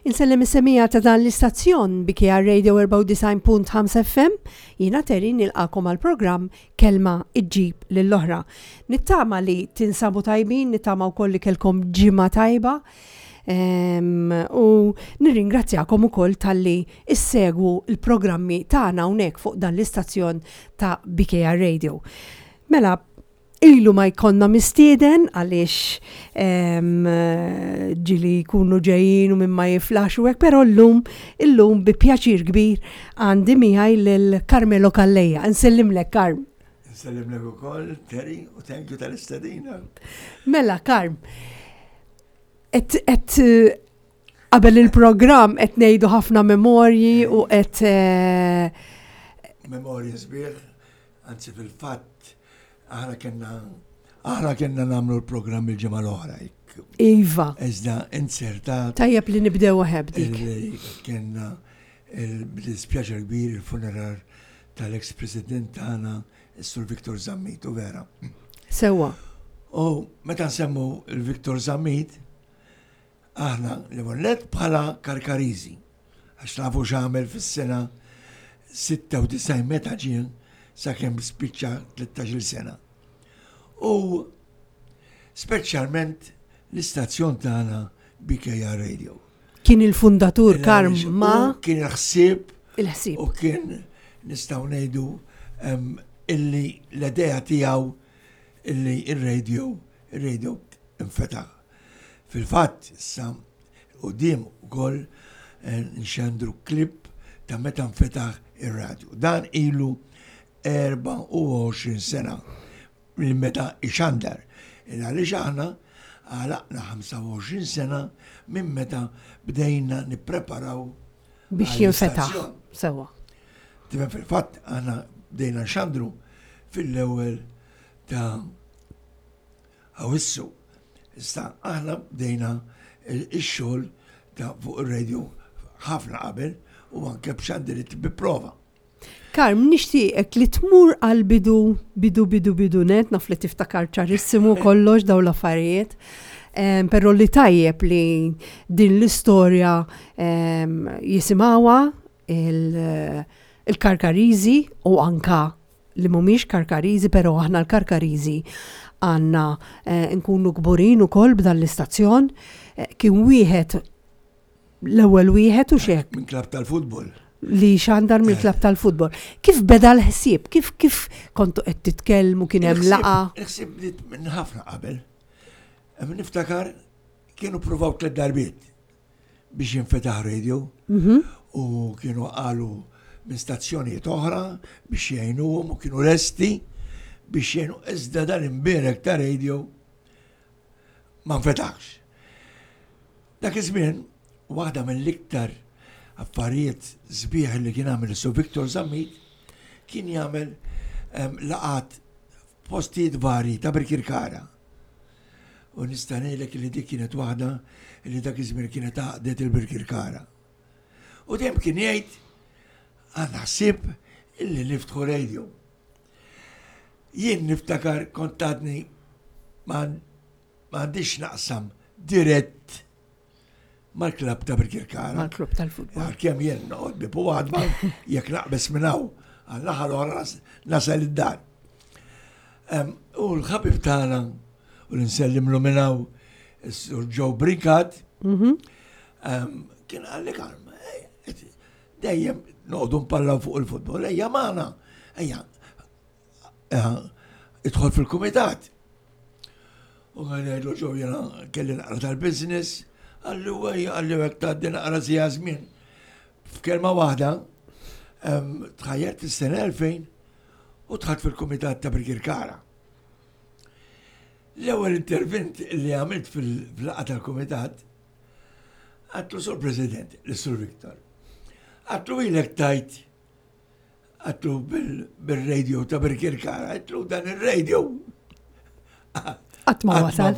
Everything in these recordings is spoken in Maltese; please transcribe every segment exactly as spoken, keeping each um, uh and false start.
Insellem is-semmiegħa ta' dan l-istazzjon B K R Radio erbgħa u disgħin punt ħamsa F M. Jiena Terry, nilqagħkom għal programm Kelma Iġġib lill-Oħra. Nittama li tinsabu tajbin, nittama wkoll li kelkom ġimgħa tajba. Em, u nirringrazzjakom ukoll talli issegwu il-programmi tagħna hawnhekk fuq dan l-istazzjon ta' B K R Radio. Mela, ilu ma jkollna mistieden għaliex em, ġieli jkunu ġejjin u minn ma jiflax u hekk, però llum, illum bi pjaċir kbir għandi miegħi lil Carmelo Calleja. Nsellimlek, Karm. Nsellimlek ukoll, Terry, u thank you tal-istedina. Mela, Karm, et, et qabel il-programm qed ngħidu ħafna memorji u qed eh, Memorji sbieħ, anzi fil-fatt, aħna kellna aħna kellna nagħmlu l-programm il-ġimgħa l-oħra. jekk- Iva, Iżda inzertat tajjeb li nibdew b'dik. Illi kellna il-dispjaċir kbir il-funeral tal-ex-president tagħna, is-Sur Victor Zammit, u vera. Sewwa. U meta nsemmu il-Victor Zammit, aħna li let bħala Karkariżi, għax nafu x'għamel fis-sena sitta u disgħin meta ġien sakemm spiċċa tlettax-il sena. U speċjalment l-istazzjon tagħna B K R Radio. Kien il-fundatur, Karm, U ma kien il-ħsieb il-ħsieb. U kien nistgħu ngħidu em, illi l-idea tiegħu illi il-radio, il-radio infetaħ. Fil-fatt, issa quddiem ukoll eh, nxandru klip ta' meta nfetaħ ir-radio. Dan ilu erbgħa u għoxrin sena minn meta ixandar. Il għaliex aħna għalaqna ħamsa u għoxrin sena minn meta bdejna nippreparaw biex jinfetaħ. għall-istazzjon. Sewwa. Tifhem, fil-fatt aħna bdejna nxandru fil-ewwel ta' Awissu. Issa aħna bdejna ix-xogħol ta' fuq ir-radio ħafna qabel u anke b'xandirit bi prova. Karm, nixtieqek li tmur għal bidu, bidu, bidu, bidu net, naf li tiftakar ċarissimu kollox daw l-affarijiet. Em, Però li tajjeb li din l-istorja em, jisimgħuha il- il-Karkariżi u anka li mhumiex Karkariżi, però aħna l-Karkariżi għandna eh, nkunu kburin ukoll b'dan l-istazzjon. Eh, Kien wieħed, l-ewwel wieħed u xek minn klab tal-futbol. Li xandar mill-klab tal-futbol. Kif beda l-ħsieb? Kif kif kontu qed titkellmu, kien hemm laqgħa? Il-ħsieb bdiet minn ħafna qabel. Hemm niftakar kienu provaw tliet darbiet biex jinfetaħ radio Mhm. u kienu qalu minn stazzjonijiet oħra biex jgħinuhom u kienu lesti biex jgħinu, iżda dan imbierek ta' radio ma nfetaħx. Dak iż-żmien, waħda mill-iktar affarijiet sbieħ li kien għamel Sur Victor Zammit kien jagħmel em, laqgħat f'postijiet vari ta' Birkirkara. U nista' ngħidlek li dik kienet waħda li dak iż-żmien kienet għaqdet il-Birkirkara. U dejjem kien jgħid, "Għandna ħsieb illi niftħu radio." Jien niftakar kont għadni ma ma għandix naqsam dirett mal-klab ta' Birkirkara. Mal-klub tal-futbol. Għalkemm jien noqgħod bieb u għadma, jekk naqbes minn hawn għal-naħa l-oħra nas- nasal id-dar. Em, U l-ħabib tagħna u l-insellimlu minn hawn, is-Sur Joe Brinkat, Mhm. em, kien qalli, "Karm, eh, dejjem noqogħdu npallaw fuq il-futbol, ejja magħna, ejja, eh, idħol fil-kumitat." U għan ngħidlu, "Joe, jiena kelli naqra tal-business." Qalli, "Ejja," qalli, "hekk tgħaddi naqra sija żmien." F'kelma waħda, em, tħajjert is-sena elfejn u dħalt fil-kumitat ta' Birkirkara. L-ewwel intervent li għamilt fil-laqgħa tal-kumitat, għedtlu, "Sur President," l-Sur Victor, għedtlu, "ilek tgħid," għedtlu, "bil-radio ta' Birkirkara," għedtlu, "dan il-radio Qatt ma wasal.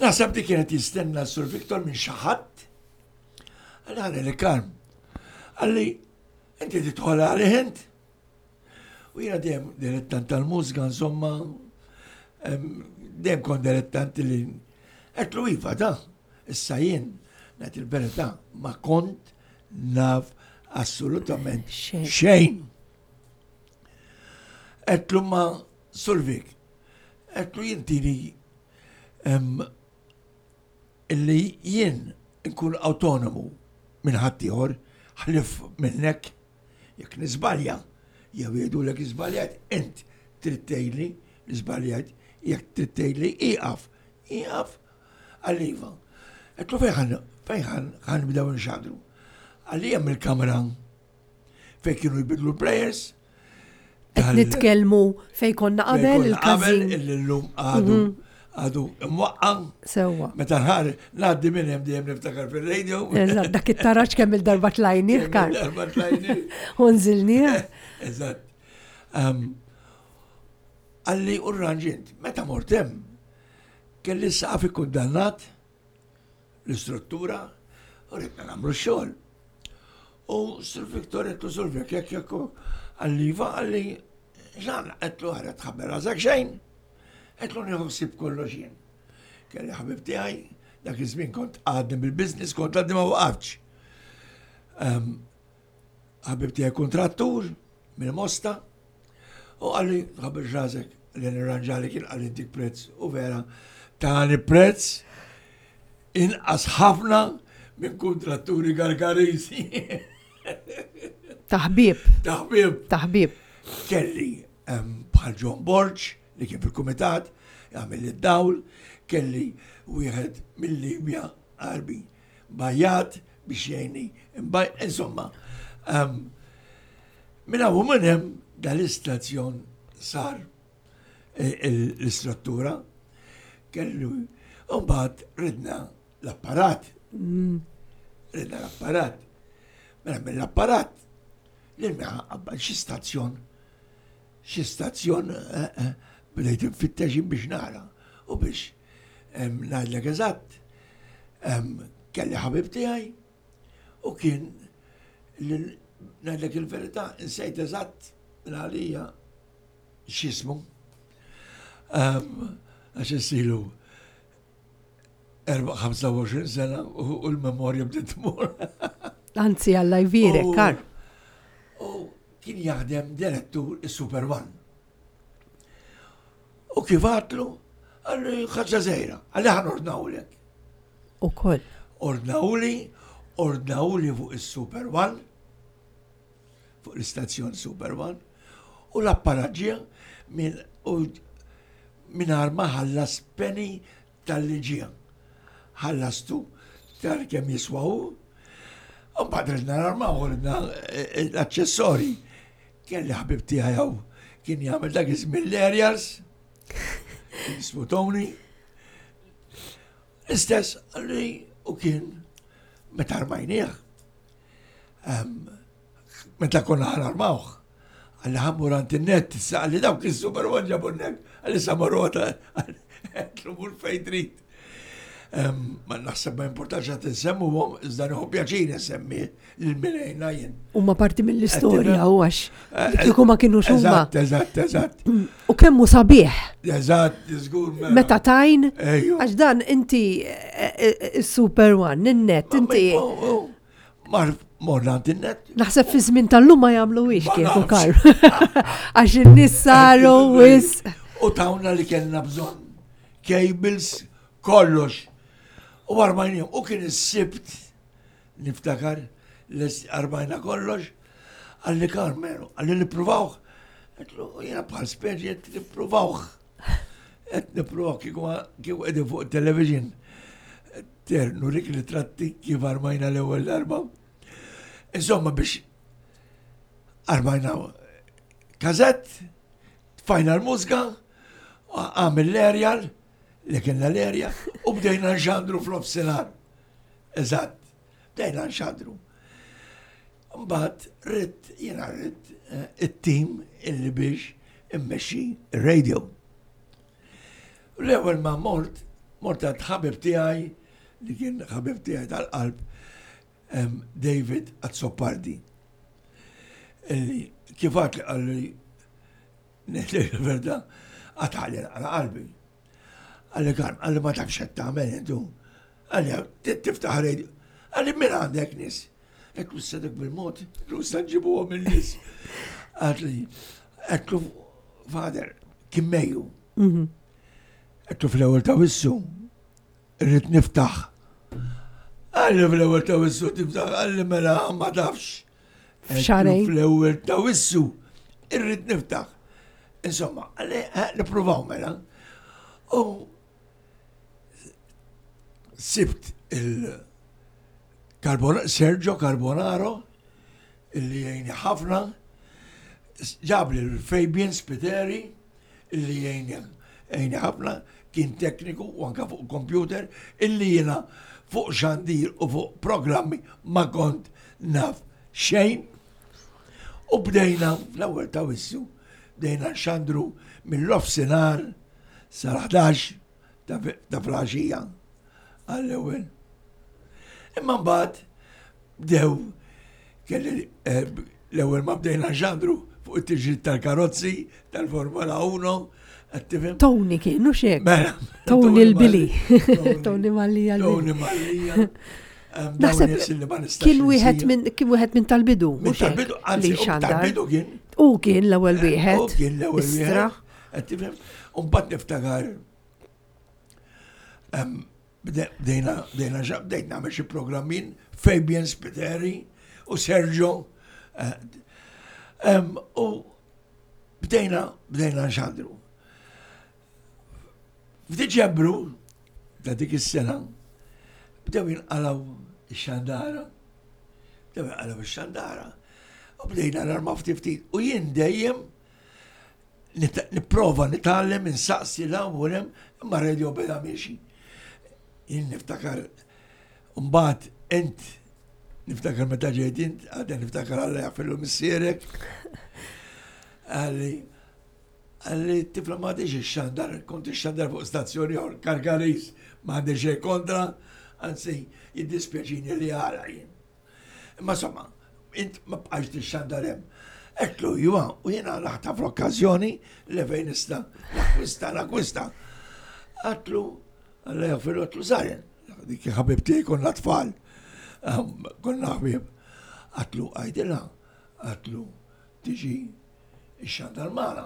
Naħseb di kienet jistenna Sur Victor minn xi ħadd. Qalli, "Għalli li Karm." Qalli, "Inti tidħol għalih int." U jiena dejjem dilettant tal-mużika, insomma, em, dejjem kont dilettant li għedtlu, "Iva, da, issa jien Ngħid il-verità, ma kont naf assolutament Xejn. xejn. Għedtlu ma Sur Vic, għedtlu jien tini em, illi jien nkun autonomu minn ħaddieħor ħlief minnek jekk niżbalja jew jgħidulek iżbaljajt, int trid tgħidli li żbaljajt, jekk trid tgħidli ieqaf, ieqaf qalli iva. Għedtlu fejn ħan fejn ħan ħa nibdew nxandru. Qalli hemm il-kamera fejn kienu jbidlu l-players. Qed nitkellmu fejn konna qabel il-każin. Illi llum għadu għadu imwaqqa. Sewwa. Meta nħar ngħaddi minn hemm dejjem niftakar fil-radio. Eżatt, dak it-taraġ kemm il-darba tlajnieh kar. Darba tlajnieh. U nżilnieh. Eżatt. Um, Qalli u rranġint, meta mort hemm, kelli s-saqaf ikkundannat l-istruttura u ridna nagħmlu x-xogħol. U Sur Victor għedtlu Sur Vic, jekk jekk qalli iva, qalli xan, għedtlu ħara tħabber rasek xejn, għedtlu nieħu ħsieb kollox jien. Kelli ħabib tiegħi, dak iż-żmien kont għadni bil-business, kont għadni ma waqaftx. Um, ħabib tiegħi kontrattur mill-Mosta u qalli tħabbar rasek li nirranġali kien qalli dik prezz u vera tani prezz inqas ħafna minn kontratturi Gargarisi. Taħbib, Taħbib. taħbib. Kelli em, bħal John Borg li kien fil-kumitat jagħmel id-dawl, kelli wieħed mill-Libja Arbi Bajat biex jgħinni. Imbaj- Insomma, em, minn hawn u minn hemm dal-istazzjon sar eh, il- l-istruttura kellu u mbagħad ridna l-apparat. Ridna l-apparat. Mela mill-apparat lil min qabad xi stazzjon xi stazzjon eh, eh, bdejt infittex biex nara u biex em, ngħidlek eżatt em, kelli ħabib tiegħi u kien lil- ngħidlek il-verità insejt eżatt minn għalija x'ismu. Em, Għax issilu ħamsa u għoxrin sena u u l-memorja bdiet tmur. Anzi, Alla jbierek, U- kar. U kien jaħdem direttur is-Super One. U kif għedtlu, qalli ħaġa żgħira, qalli ħa nordnawlek. U koll. Ordnawli, ordnawli fuq is-Super One, fuq l-istazzjon Super One, u l-apparat ġie minn u mingħajr ma ħallas penny talli ġie. Ħallastu tal kemm jiswa hu, u mbagħad ridna narmaw, ridna eh, eh, l-aċċessori. Kelli ħabib tiegħi hawn kien jagħmel dak iż-żmien l-aerials, jismu Tony. Istess qalli u kien meta armajnieh. Em, Meta konna ħa narmawh. Qalli ħa mmur għand in-net, issa qalli dawk il-Super One ġabu n-net, qalli sa marrota, għedtlu mur fejn trid. Em, Ma naħseb ma importax għat nsemmu għom, iżda nieħu pjaċir nsemmi lil min għenna jien. Huma parti mill-istorja u għax Eh, kieku ma kienu huma. Eżatt, eżatt, eżatt. U kemmu sabiħ. Eżatt, żgur mela. Meta tajn, Ejju. għax dan inti eh, eh, Super One, in-net, inti. Mar morna għand in-net. Naħseb fi żmien tal-lum ma jagħmluhiex Ma kieku nafx. kar. Għax in-nies saru wis. U tawna li kellna bżonn. Cables, kollox. U armajnihom. U kien is-Sibt, niftakar, les armajna kollox, qalli Karmenu, qalli nippruvawh. Għedtlu, jiena bħal speċi qed nippruvawh. Qed nippruvawh kieku kieku qegħdin fuq television. Ter, nurik li tratti kif armajna l-ewwel darba. Insomma biex armajna kazett, tfajna l-mużika, għamil l-aerial, li kienna l-aerial, u bdejna nxandru f'nofsinhar. Eżatt, bdejna nxandru. Mbagħad ridt jiena ridt eh, it-tim illi biex immexxi radio. L-ewwel ma mort, mort għand ħabib tiegħi li kien ħabib tiegħi tal-qalb em, David Azzopardi. Illi kif għat li qalli ngħidlek il-verità, qatagħli għala qalbi. Qalli kan, qalli ma tafx qed tagħmel intu. Qalli tiftaħ radio. Qalli min għandek nies? Għedtlu sedek bil-mod, għedtlu sa nġibuhom il-nies. Qalli, għedtlu father, kien Mejju. Mhm. Għedtlu fl-ewwel ta' Awwissu, irrid niftaħ. Qalli fl-ewwel ta' Awwissu tiftaħ, qalli mela ma tafx. F'xahrejn. Fl-ewwel ta' Awwissu, irrid niftaħ. Insomma, qalli eh, nippruvaw mela. U sibt il Carbon Sergio Carbonaro, illi jgħini ħafna, ġabli l-Fabian Spiteri, illi jgħini jgħini ħafna, kien tekniku u anka fuq computer, illi jiena fuq xandir u fuq programmi ma kont naf xejn. U bdejna fl-ewwel ta' Awwissu, bdejna nxandru mill-nofsinhar sal-ħdax ta' ta' filgħaxija għall-ewwel. Imma mbagħad bdew kelli eh, l-ewwel ma bdejna nxandru fuq it-tiġrid tal-karozzi tal-Formula one, qed tifhem? Tony kien, u xek. Mela, Tony l-Bili. Tony Tony Mallia Tony l-Bili. Mallia. Em, dawn Naħseb nies li ma nistax kien wieħed insir. minn kien wieħed minn tal-bidu. Minn mhux hekk, tal-bidu, anzi, li u xandar. tal-bidu kien. U kien l-ewwel wieħed. U kien l-ewwel Istra. wieħed. Qed tifhem? U mbagħad niftakar em, bde- bdejna bdejna xa- bdejt nagħmel xi programmin Fabian Spiteri u Sergio eh, em, u bdejna bdejna nxandru. F'Diċembru ta' dik is-sena bdew jinqalaw ix-xandara. Bdew jinqalaw ix-xandara. U bdejna narmaw ftit ftit. U jien dejjem nit- nipprova nitgħallem insaqsi 'l hawn u 'l hemm, imma radio beda miexi. Jien niftakar mbagħad int niftakar meta ġejt int, għadha niftakar Alla jaħfirlu missierek. Qalli qalli tifla ma għadix ix-xandar, kont ix-xandar fuq stazzjoni oħra, Karkaris, ma għandi xejn kontra, anzi jiddispjaċini li għala jien. Imma insomma, int ma bqajx tixxandar hemm. Għedtlu iva, u jiena naħtaf l-okkażjoni li fejn nista' nakwista, nakwista. Għedtlu, Alla jaħfirlu għedtlu Zaren, dik ħabib tiegħi konna tfal, Ehm, konna ħbieb. Għedtlu għidilha, għedtlu tiġi ix-xandar magħna.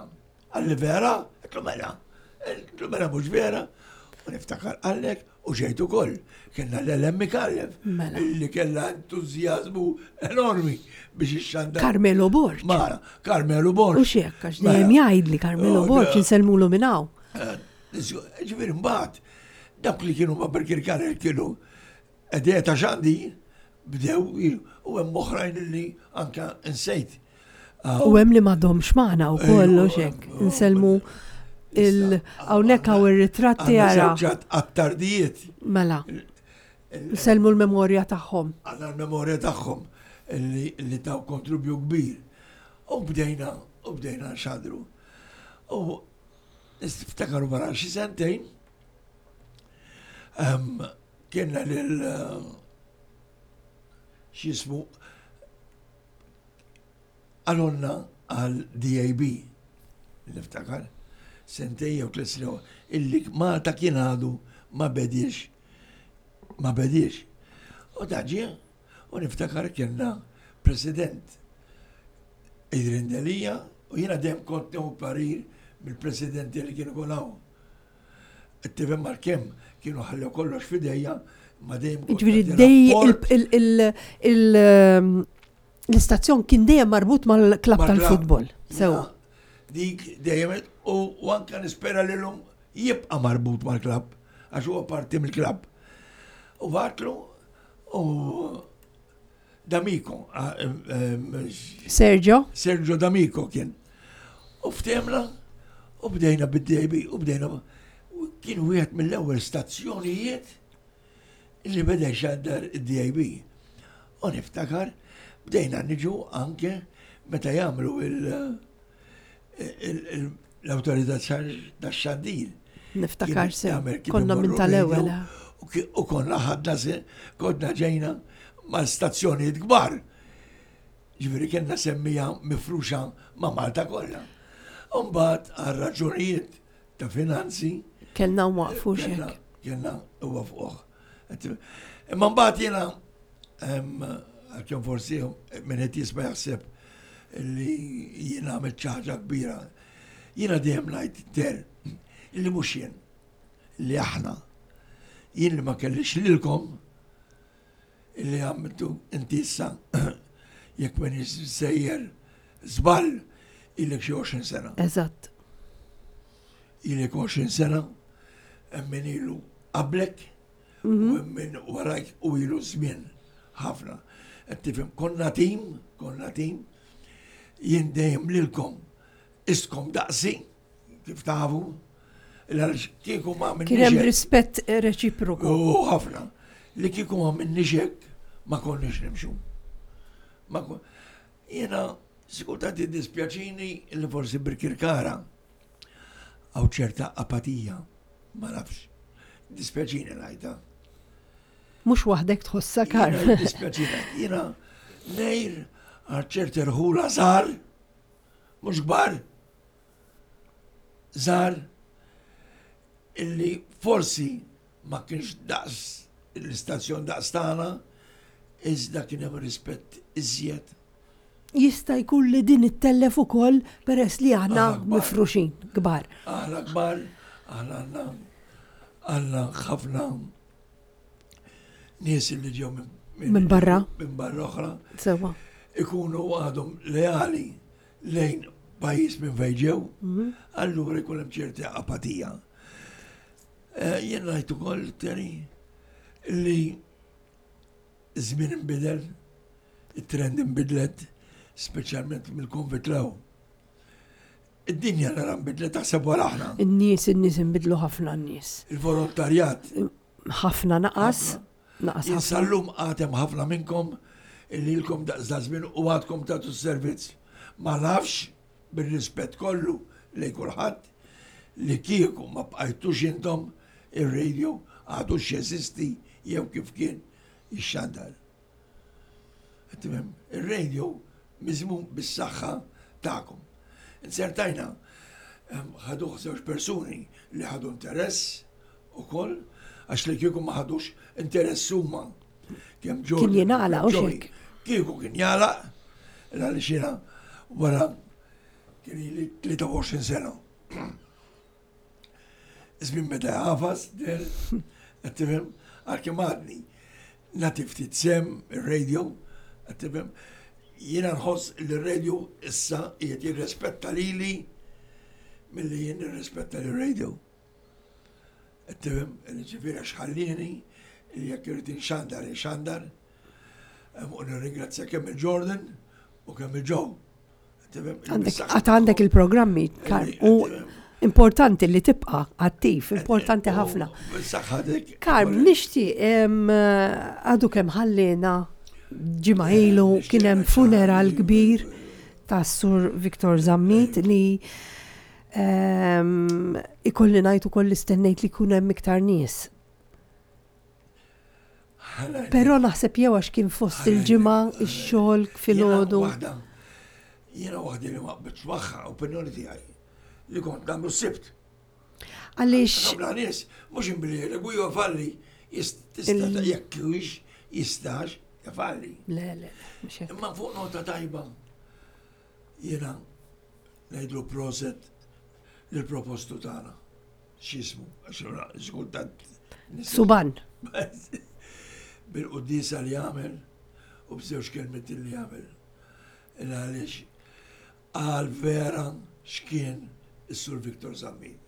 Qalli vera, għedtlu mela, għedtlu mela mhux vera. U niftakar għallek u ġejtu ukoll. Kellna l-Ellen Micallef, Mela. illi kella entużjażmu enormi biex ix-xandar. Carmelo Borg. Mara, Carmelo Borg. U xek, għax dejjem jgħidli Carmelo Oh, Borg da. insellmulu minn hawn. Ġifieri mbagħad dawk li kienu ma' Birkirkara kienu idea ta' xandi bdew jilu, u hemm oħrajn li anka insejt. U hemm li m'għadhomx magħna wkoll u xek. Insellmu il hawnhekk hawn ir-ritratti ara. Għat-tardijiet, Mela. Nsellmu l-memorja tagħhom. għandna l-memorja tagħhom li, li taw kontribju kbir. U bdejna, u bdejna nxandru. U niftakaru wara xi sentejn, em, kienna lil eh, x'jismu għalonna għal D A B, niftakar, sentejn jew tliet snin, illi Malta kien għadu ma bediex, ma bediex. U daġi, u niftakar kienna president Adrian Delia, u jiena dejjem kont nieħu parir mill-presidenti li kienu kolaw. Tifhem mal-kemm kienu ħallew kollox f'idejja, ma dejjem kont Ġifieri nagħti dej rapport. il- il- il- ehm, l-istazzjon kien dejjem marbut mal-klab Mal-klab. tal-futbol. Sewa. Ja, dik dejjem u u anka nispera li l-lum jibqa' marbut mal-klab, għax huwa parti mill-klab. U għedtlu u D'Amico, ah, em, em, Sergio? Sergio D'Amico kien. U ftehemna u bdejna bid-D A B u bdejna u kien wieħed mill-ewwel stazzjonijiet li beda jxandar id-D A B. U niftakar bdejna niġu anke meta jagħmlu il- il- il- l-awtorità tax-xandir. Niftakar Kien sew. jagħmel kif Konna minn imorru tal-ewwel. radio, U ki- u konna ħadna se, konna ġejna ma' stazzjonijiet kbar. Ġifieri kellna semmija mifruxa ma' Malta kollha. Umbagħad għal raġunijiet ta' finanzi Kellna nwaqfu kellna xek. kellna huwa fuq. Imma mbagħad jiena Għalkemm forsi min qed jisma' jaħseb li jien għamilt xi ħaġa kbira. Jiena dejjem ngħid ter illi mhux jien, li aħna. Jien li ma kellix lilkom illi għamiltu inti issa, jekk m'iniex sejjer żball, ilek xi għoxrin sena. Eżatt. Ilek għoxrin sena, hemm min ilu qablek u hemm min warajk u ilu żmien ħafna. Qed tifhem, konna tim, konna tim, jien dejjem lilkom istkom daqsi, kif tafu, għaliex kieku ma minn Kien hemm rispett reċiproku. U ħafna. Li kieku ma minni hekk ma konniex nimxu. Ma kon... Jiena sikultant dispjaċini li forsi Birkirkara hawn ċerta apatija, ma nafx. Dispjaċini ngħidha. Mhux waħdek tħossha, Karm. Jiena Dispjaċini. Jiena ngħir għal ċerti rħula żgħar, mhux kbar, żgħar, illi forsi ma kienx daqs l-istazzjon daqs tagħna, iżda kien hemm rispett iżjed. Jista' jkun li din ittellef ukoll peress li aħna Aħna kbar. mifruxin kbar. Aħna kbar, aħna għandna għandna ħafna nies li ġew minn Minn barra. Minn barra oħra, Sewa. ikunu għadhom leali lejn pajjiż minn fejn ġew, allura jkun hemm ċerta apatija. Eh, Jien ngħid ukoll, Terry, li żmien inbidel, it-trend inbidlet, speċjalment mill-Covid 'l hawn. Id-dinja nara nbidlet, taħseb wara aħna. In-nies, in-nies inbidlu ħafna n-nies. Il-volontarjat Ħafna naqas, naqas Jien ħafna. sal-lum għad hemm ħafna minnkom illi ilkom daqs da żmien u għadkom tagħtu s-servizz. Ma nafx, bir-rispett kollu lejn kulħadd, li kieku ma bqajtux intom ir-radio għadux jeżisti jew kif kien ixxandar. Tifhem, ir-radio miżmum bis-saħħa tagħkom. Insertajna em, ħaduh żewġ persuni li ħadu interess ukoll, għax li kieku ma ħadux interess huma. Kemm Jordan, Kien jingħalaq, kemm u Joey. xek. Kieku kien jagħlaq, għaliex jiena wara kien ili tlieta u għoxrin sena. Żmien meta jagħfas, der, qed tifhem, għalkemm għadni nagħti ftit sehem ir-radio, qed tifhem, jiena nħoss li r-radio issa qiegħed jirrispetta lili milli jien nirrispetta lir-radio. Qed tifhem, ġifieri għax ħallini li jekk irid inxandar, inxandar, u nirringrazzja kemm il-Jordan u kemm il-Joe. Għandek, għad għandek il-programmi, Karm, u importanti li tibqa attiv, importanti ħafna. Saħħatek. Karm, nixtieq, em, għadu kemm ħallina ġimgħa ilu kien hemm funeral kbir ta' Sur Victor Zammit li em, ikolli ngħid ukoll li stennejt li jkun hemm iktar nies. Però naħseb jew għax kien fost il-ġimgħa, ix-xogħol filgħodu. Jiena waħda li ma qbiltx magħha, opinjoni tiegħi, li kont nagħmlu s-Sibt. Għaliex Ħafna nies mhux imblielek u jofalli tista' jekk hux jistax jafalli. Le, le, mhux hekk. Imma fuq nota tajba jiena ngħidlu proset lill-propostu tagħna. X'ismu, għax xkultant Suban. Bil-quddiesa li għamel u b'żewġ kelmiet li għamel. Għaliex għal vera x'kien is-Sur Victor Zammit.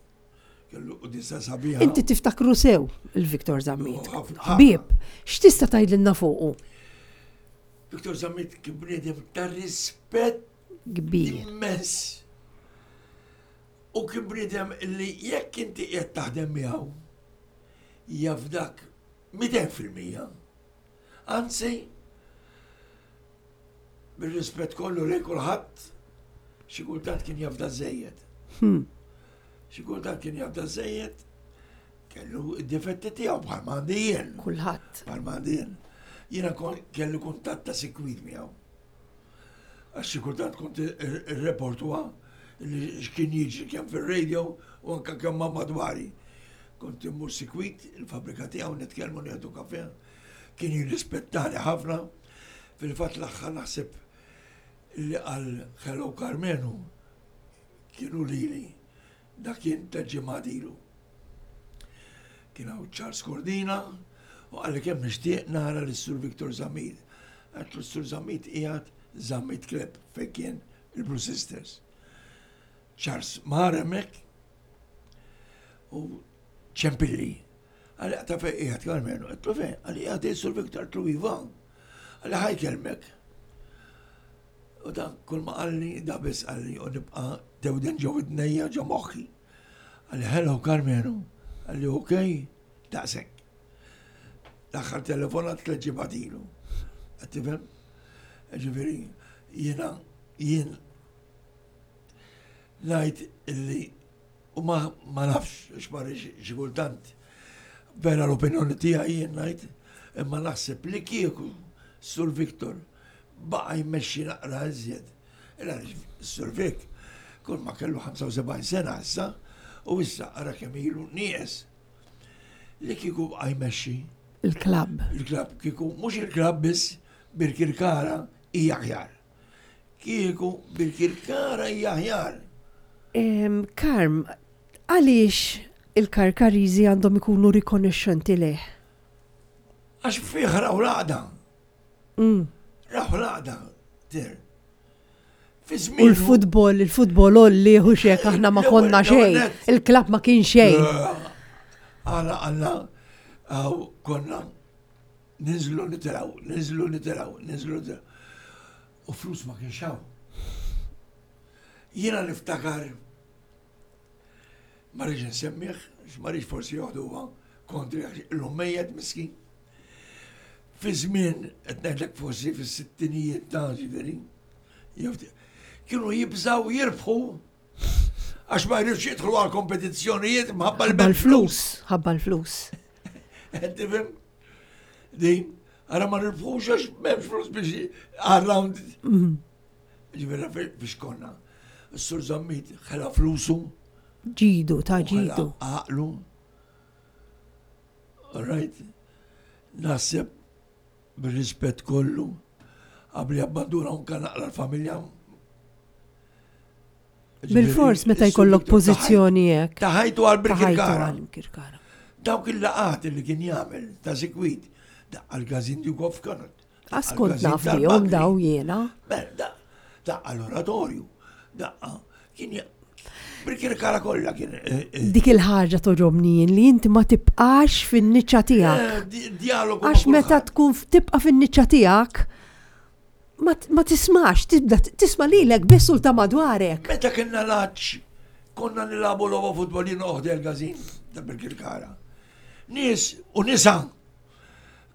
Kellu quddiesa sabiħa. Inti tiftakru sew il-Victor Zammit. Oh, ħafna. Ħbieb, x'tista' tgħidilna fuqu? Victor Zammit kien bniedem ta' rispett Kbir. immens. U kien bniedem li jekk inti qiegħed taħdem miegħu jafdak mitejn fil-mija. Anzi, bir-rispett kollu lejn kulħadd, xi kultant kien jafda żejjed. Hmm. Xi kultant kien jafda żejjed, kellu id-difetti tiegħu bħal ma għandi jien. Kulħadd. Bħal ma għandi jien. Jiena kon- kelli kuntatt ta' sikwit miegħu. Għax xi kultant kont ir-reportuha li x'kien jiġri kemm fir-radio u anke kemm ma' madwari. Kont immur sikwit il-fabrika tiegħu, nitkellmu, nieħdu kafe. Kien jirrispettani ħafna. Fil-fatt l-aħħar naħseb li qal "Hello Karmenu" kienu lili. Dak kien ta' ġimgħat ilu. Kien hawn Charles Cordina u qalli kemm nixtieq nara lis-Sur Victor Zammit. Għedtlu Sur Zammit qiegħed Zammit Club fejn kien il-Blue Sisters. Charles mar hemmhekk u ċempilli. Qalli ta' fejn qiegħed Karmenu, għedtlu fejn, qalli qiegħed il-Sur Victor, għedtlu iva. Qalli ħa jkellmek. U dan kull ma qalli, da biss qalli u nibqa' tewden ġo widnejja ġo moħħi. Qalli "Hello Karmenu", qalli "Ok", daqshekk. L-aħħar telefonat tliet ġimgħat ilu. Qed tifhem? Ġifieri, jiena jien ngħid illi u ma ma nafx x'ma xi kultant vera l-opinjoni tiegħi jien ngħid, imma naħseb li kieku Sur Victor baqa' jmexxi naqra iżjed. Sur Vic kull ma kellu ħamsa u sebgħin sena issa u issa ara kemm ilu nieqes. Li kieku baqa' jmexxi Il-klabb. Il-klabb kieku, mhux il-klabb biss, Birkirkara hija aħjar. Kieku Birkirkara hija aħjar. Karm, għaliex il-Karkariżi għandhom ikunu rikonoxxenti leh? Għax fih raw l-għaqda. Mm. Raw l-għaqda, ter. Fi U żmien. l-futbol, il-futbol olli hu xek aħna ma konna xejn. Il-klabb ma kien xejn. Għala għalla, għaw konna ninżlu nitilgħu, ninżlu nitilgħu, ninżlu nitilgħu. U flus ma kienx hawn. Jiena niftakar, ma rridx nsemmih, ma rridx forsi joħduha kontri għax illum mejjet miskin. Fi żmien qed ngħidlek forsi fis-sittinijiet ta' ġifieri, jew kienu jibżaw jirbħu għax ma jridx jidħlu għal kompetizzjonijiet mħabba Ħabba l-flus, ħabba l-flus. Qed tifhem? Din, ara ma nirbħux għax m'hemmx flus biex għal-round. Ġifieri biex konna. Is-Sur Zammit ħela flusu. Ġidu, ta' u ħela ġidu. għaqlu. All right. Naħseb bir-rispett kollu qabli abbanduna unka naqra l-familja. Bil-fors meta jkollok pożizzjoni hekk. Ta ħajtu għal Ta' ħajtu Birkirkara. għal Birkirkara. Dawk il-laqat li kien jagħmel ta' sikwit, daqqa l-Gazin Duke of Connaught. Għas kont naf bihom daw jiena. Beh, daqqa l-oratorju, daqqa kien ja- Birkirkara kollha kien. eh, eh, Dik il-ħaġa togħġobni jien li inti ma tibqax fin-niċċa tiegħek. eh, di- Dialogu ma' Għax meta kulħadd. tkun tibqa' fin-niċċa tiegħek ma ma tismax, tibda tisma' lilek biss u ta' madwarek. Meta kienna laċ, konna nilagħbu logħba futbol jien oħdi l-gazin ta' Birkirkara. Nies u nisa.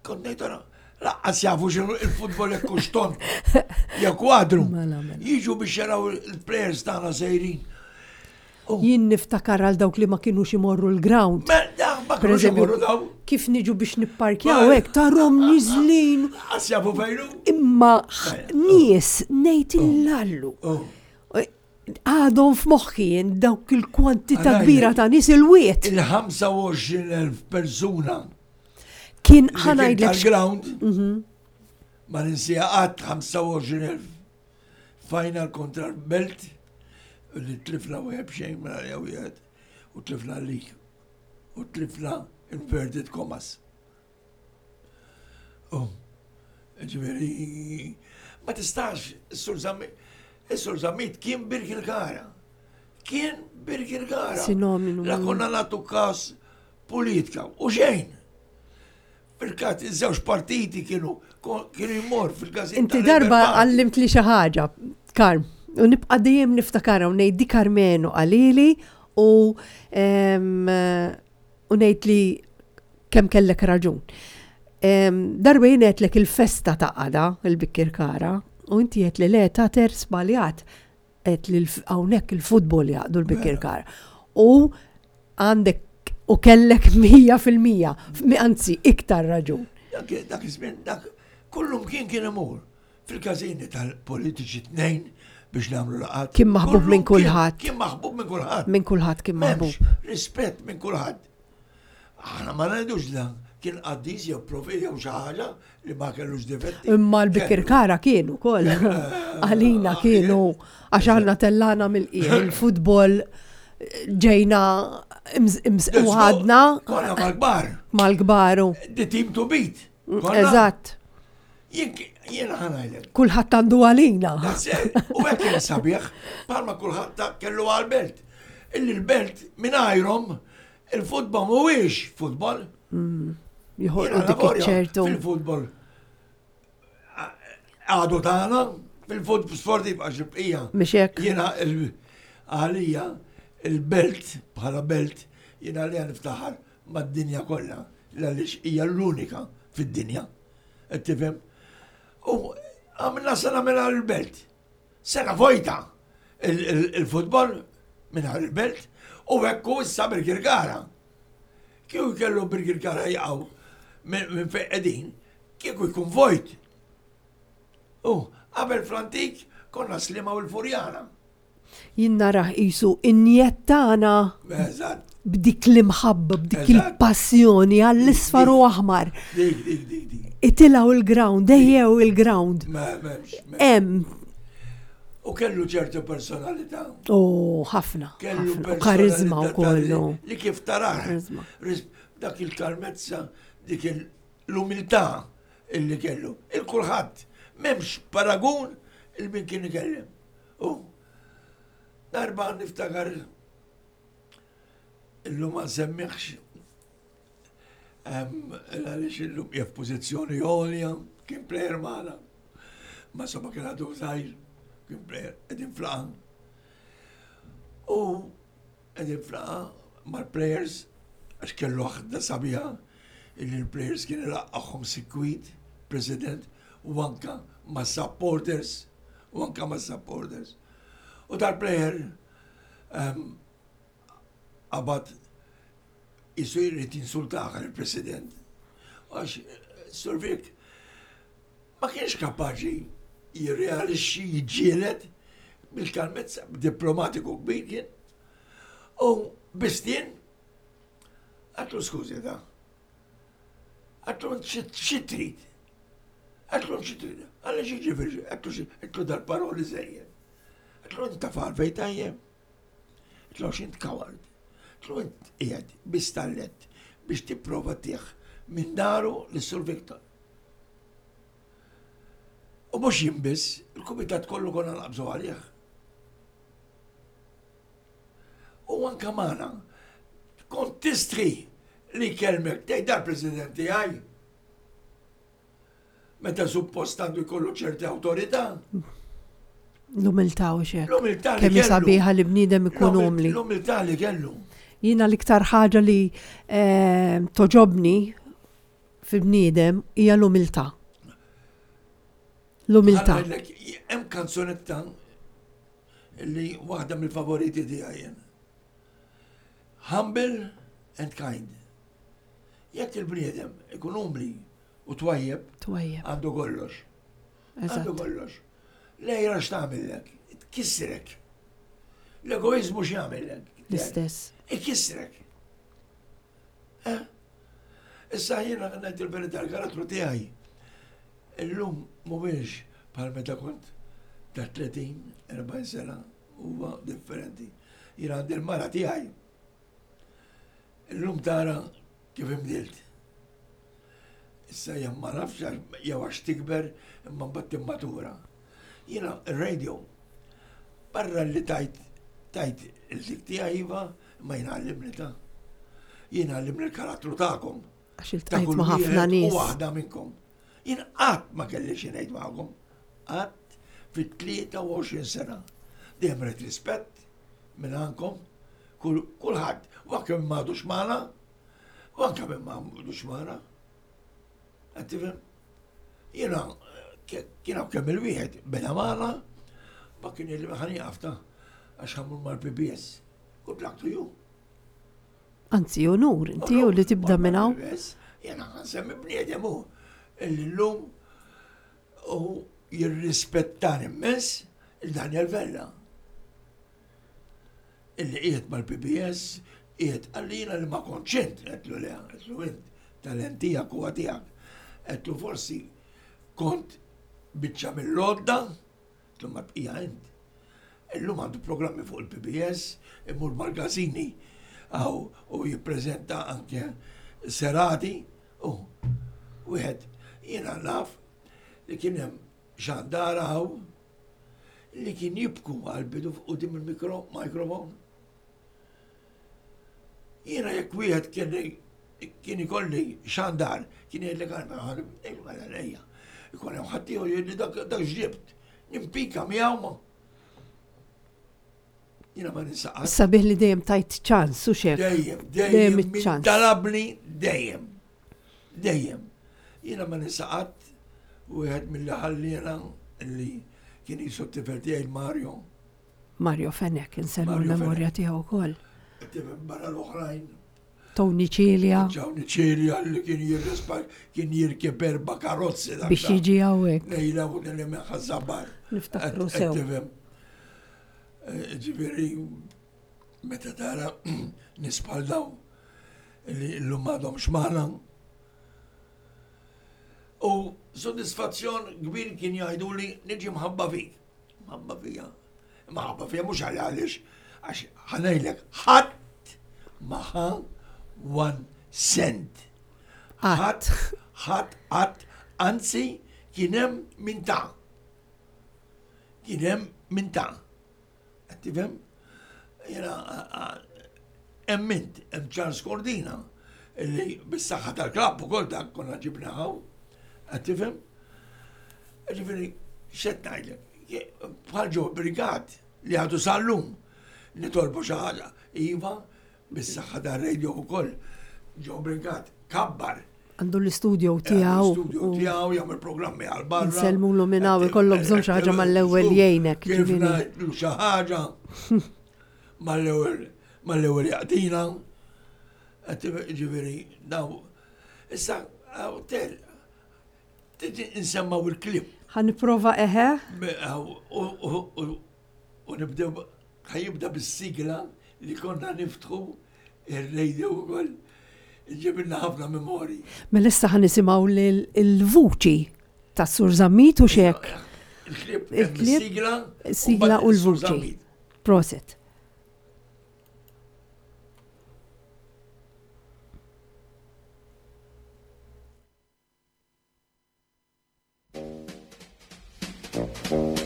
Kont ngħid ara, lanqas jafu x'inhu il-futbol jekk hux tond, jew kwadru. Mela, mela. Jiġu biex jaraw il-players tagħna sejrin. Jien niftakar għal dawk li ma kinux imorru l-ground. Ma da, ma Per kinux eżempju, imorru daw. kif niġu biex nipparkjaw hekk tarahom niżlin Lanqas jafu fejn hu. imma nies ngħid illallu. Oh. Għadhom f'moħħi jien dawk il-kwantità Għalajlek. kbira ta' nies il-wiet. Il-ħamsa u għoxrin elf persuna Kien li kien ħa ngħidlek tal-ground ma ninsieha qatt, ħamsa u għoxrin elf final kontra l-Belt li tlifna wieħed b'xejn mela jew wieħed u tlifna l-lig u tlifna inverted commas. Oh, ġifieri, ma tistax, is-Sur Zammit, is-Sur Zammit kien Birkirkara. Kien Birkirkara. Sinonimu. La konna nagħtu kas politika u xejn. Fil-kat, iż-żewġ partiti kienu kienu jmur fil-gazin. Inti darba għallimt li xi ħaġa, Karm, u nibqa' dejjem niftakarha u ngħid di Karmenu qalili u em, u ngħid li kemm kellek raġun. Em, Darba jien għedtlek il-festa ta' għada, il-Birkirkara, u inti għedt li le ta' ter sbaljat għedt li l- hawnhekk il-futbol jgħaqqdu l-Birkirkara. U għandek u kellek mija fil-mija, anzi iktar raġun. Dak dak iż-żmien, dak kullum kien kien imur. Fil-każini tal-politiċi tnejn biex nagħmlu laqat. Kien maħbub minn Kullum kien- kulħadd. Kien maħbub minn kulħadd. Minn kulħadd kien M'hemmx maħbub. rispett minn kulħadd. Aħna ma ngħidux dan Kien qaddis jew profet jew xi ħaġa li ma kellux difetti. Imma l-Bikirkara kienu koll. Għalina kienu, għax aħna tellana mill-qiegħ, il-futbol ġejna u ħadna. Konna mal-kbar. Mal-kbar. The team to beat. Eżatt. Jiena ħa ngħidlek. Kulħadd għandu għalina. U hekk kien sabiħ, palma kulħadd kellu għal-belt. Illi l-belt mingħajrhom il-futbol mhuwiex futbol. Mm. Joħolqu dik ċertu. Fil-futbol għadu tagħna fil-futbol sportiv għax il-bqija. Mhix hekk. Jiena għalija il-belt bħala belt jiena għalija niftaħar mad-dinja kollha għaliex hija l-unika fid-dinja. Qed tifhem? U għamilna sena minn il-belt. Sena vojta il-futbol minn il-belt u hekk issa Birkirkara. Kieku kellu Birkirkara jaqgħu minn fejn qegħdin, kieku jkun vojt. U qabel fl-antik konna Sliema u l-Furjana. Jien narah qisu injettana b'dik l-imħabba, b'dik il-passjoni għall-isfar u aħmar. Dik, dik, dik, dik. Itilgħu il-ground, ejjew il-ground. Hemm. U kellu ċertu personalità. U ħafna. Kellu karizma u kollu. Li kif tarah. Dak il-kalmezza, dik l-umiltà illi kellu. Il-kulħadd. M'hemmx paragun il-min kien ikellem. U darba niftakar illum ma nsemmiħx għaliex illum hija f'pożizzjoni għolja, kien plejer magħna. Ma somma kien għadu żgħir, kien plejer qegħdin f'laqgħa. U qegħdin f'laqgħa mal-players għax kellu ħadda sabiħa illi l-players kien ilaqqagħhom sikwit, president, u anka ma' supporters, u anka ma' supporters. U tal-player qabad jisu jrid insultaħ il-president. Għax Survik ma kienx kapaċi jirrealixxi jiġġieled bil-kalmezza diplomatiku kbir kien. U bistien, għatlu skużi da. Għatlu xi trid. Għatlu xi trid. Għalli xi ġifieri, għatlu għatlu dal-paroli żejjed. Għatlu inta far fejn tajjeb. Għatlu x'int coward. Għatlu int qiegħed bistallet biex tipprova tieħ minn daru lis-Sur Victor. U mhux jien biss, il-kumitat kollu konna naqbżu għalih. U anka magħna, kont tistri li kelmek tgħid dal-President tiegħi. Meta suppost għandu jkollu ċerti awtorità. L-umiltà u xek. L-umiltà li Kemm kellu. sabiħa li bniedem ikun umli. L-umiltà li kellu. Jiena l-iktar ħaġa li eh, toġobni fil-bniedem hija l-umiltà. L-umiltà. Ħa ngħidlek, hemm kanzunetta li waħda mill-favoriti tiegħi jien. Humble and kind. Jekk il-bniedem ikun umli u twajjeb, Twajjeb. għandu kollox. Għandu Eżatt. kollox. L-għira x'tagħmillek? Tkissrek. L-egoizmu x'jagħmillek? L-istess. Ikissrek. Eh? Issa jiena ngħid il-verità l-karattru tiegħi. Illum mhuwiex bħal meta kont ta' tletin, erbgħin sena, huwa differenti. Jiena għandi l-mara tiegħi. Illum tara kif imbdilt. Issa jien ma nafx jew għax tikber imma mbagħad timmatura. Jiena ir-radio barra li tajt tajt il-dik tiegħi iva, imma jiena għallimni ta'. Jiena għallimni l-karattru tagħkom. Għax Ta' iltqajt kull ma' ħafna wieħed u nies. waħda minnkom. Jien qatt ma kelli xi ngħid magħkom. Qatt fit-tlieta u għoxrin sena. Dejjem rajt rispett minn għandkom, kulħadd, u anke minn m'għadux magħna, u anke minn m'għadux magħna. Qed tifhem? Jiena kien hawn kemm il-wieħed beda magħna, ma kien li ħa nieqaf ta' għax ħa mmur mal-P B S. Good luck to you. Anzi, onur, inti u li tibda minn hawn. Jiena nsemmi bniedem hu illi llum u jirrispettani immens, il-Daniel Vella. Illi qiegħed mal-P B S, qiegħed għallina li ma kontx int, għedtlu le, għedtlu int, Talent tiegħek huwa tiegħek. Għedtlu forsi kont biċċa mill-lodda, għedtlu ma bqija int. Illum għandu programmi fuq il-P B S, imur mal-gazini għaw u jippreżenta anke serati u wieħed jiena naf li kien hemm xandara hawn li kien jibku għal-bidu quddiem il-mikro microphone. Jiena jekk wieħed kien kien ikolli xandar, kien jgħidlek għal lejja. Ikun hemm ħadd ieħor jgħidli dak dak ġibt, nimpika miegħu ma. Jiena ma ninsaqas. Sabiħ li dejjem tajt ċans u xek. Dejjem, Dejjem dejjem, min iċ-ċans. talabni dejjem. Dejjem. Jiena ma ninsaqat wieħed mill ħallina li kien jisu t-tifel tiegħi Mario. Mario Fenech, inselmu Mario l-memorja Fenech. tiegħu wkoll. Tifhem barra l-oħrajn. Tony Cilia Ġawni Cilia li kien jirrispa kien jirkeb erba' karozzi dak biex ta' jiġi hawnhekk. Lejla u li minn Ħaż-Żabbar. Niftakru sew. Tifhem. Ġifieri, meta tara nies bħal daw li l-lum għadhom xmana. U soddisfazzjon kbir kien jgħidu li niġi mħabba fik. Mħabba fija. Mħabba fija mhux għal għaliex, għax ħa ngħidlek, ħadd ma ħa one cent. Qatt. Ħadd, ħadd, ħadd, anzi kien hemm min ta. Kien hemm min ta. Qed tifhem? Jiena hemm int, hemm Charles Cordina, illi bis-saħħa tal-klabb ukoll dak konna ġibna hawn. Qed tifhem? Ġifieri, x'qed ngħidlek? Bħal ġo Brigat li għadu sal-lum nitolbu xi ħaġa. Iva, bis-saħħa tar-radio wkoll. Ġo Brigat kabbar. Għandu l-istudio tiegħu. Studio tiegħu jagħmel programmi għal barra. Nsellmulu minn hawn, ikollok bżonn xi ħaġa mal-ewwel jgħinek, Kif ġifieri. ngħidlu xi ħaġa mal-ewwel mal-ewwel jaqtina. Qed Ġifieri, daw. Issa, hawn tel, tiġi nsemmaw il-klip. Ħa nipprova eħe. U nibdew, ħa jibda bis-sigla li konna niftħu il-radio ukoll. Ġibilna ħafna memori. Mela issa ħa nisimgħu il-vuċi ta' Sur Zammit u xek. Il-klip, Il-klip, il-sigla, sigla u l-vuċi. Prosit. Thank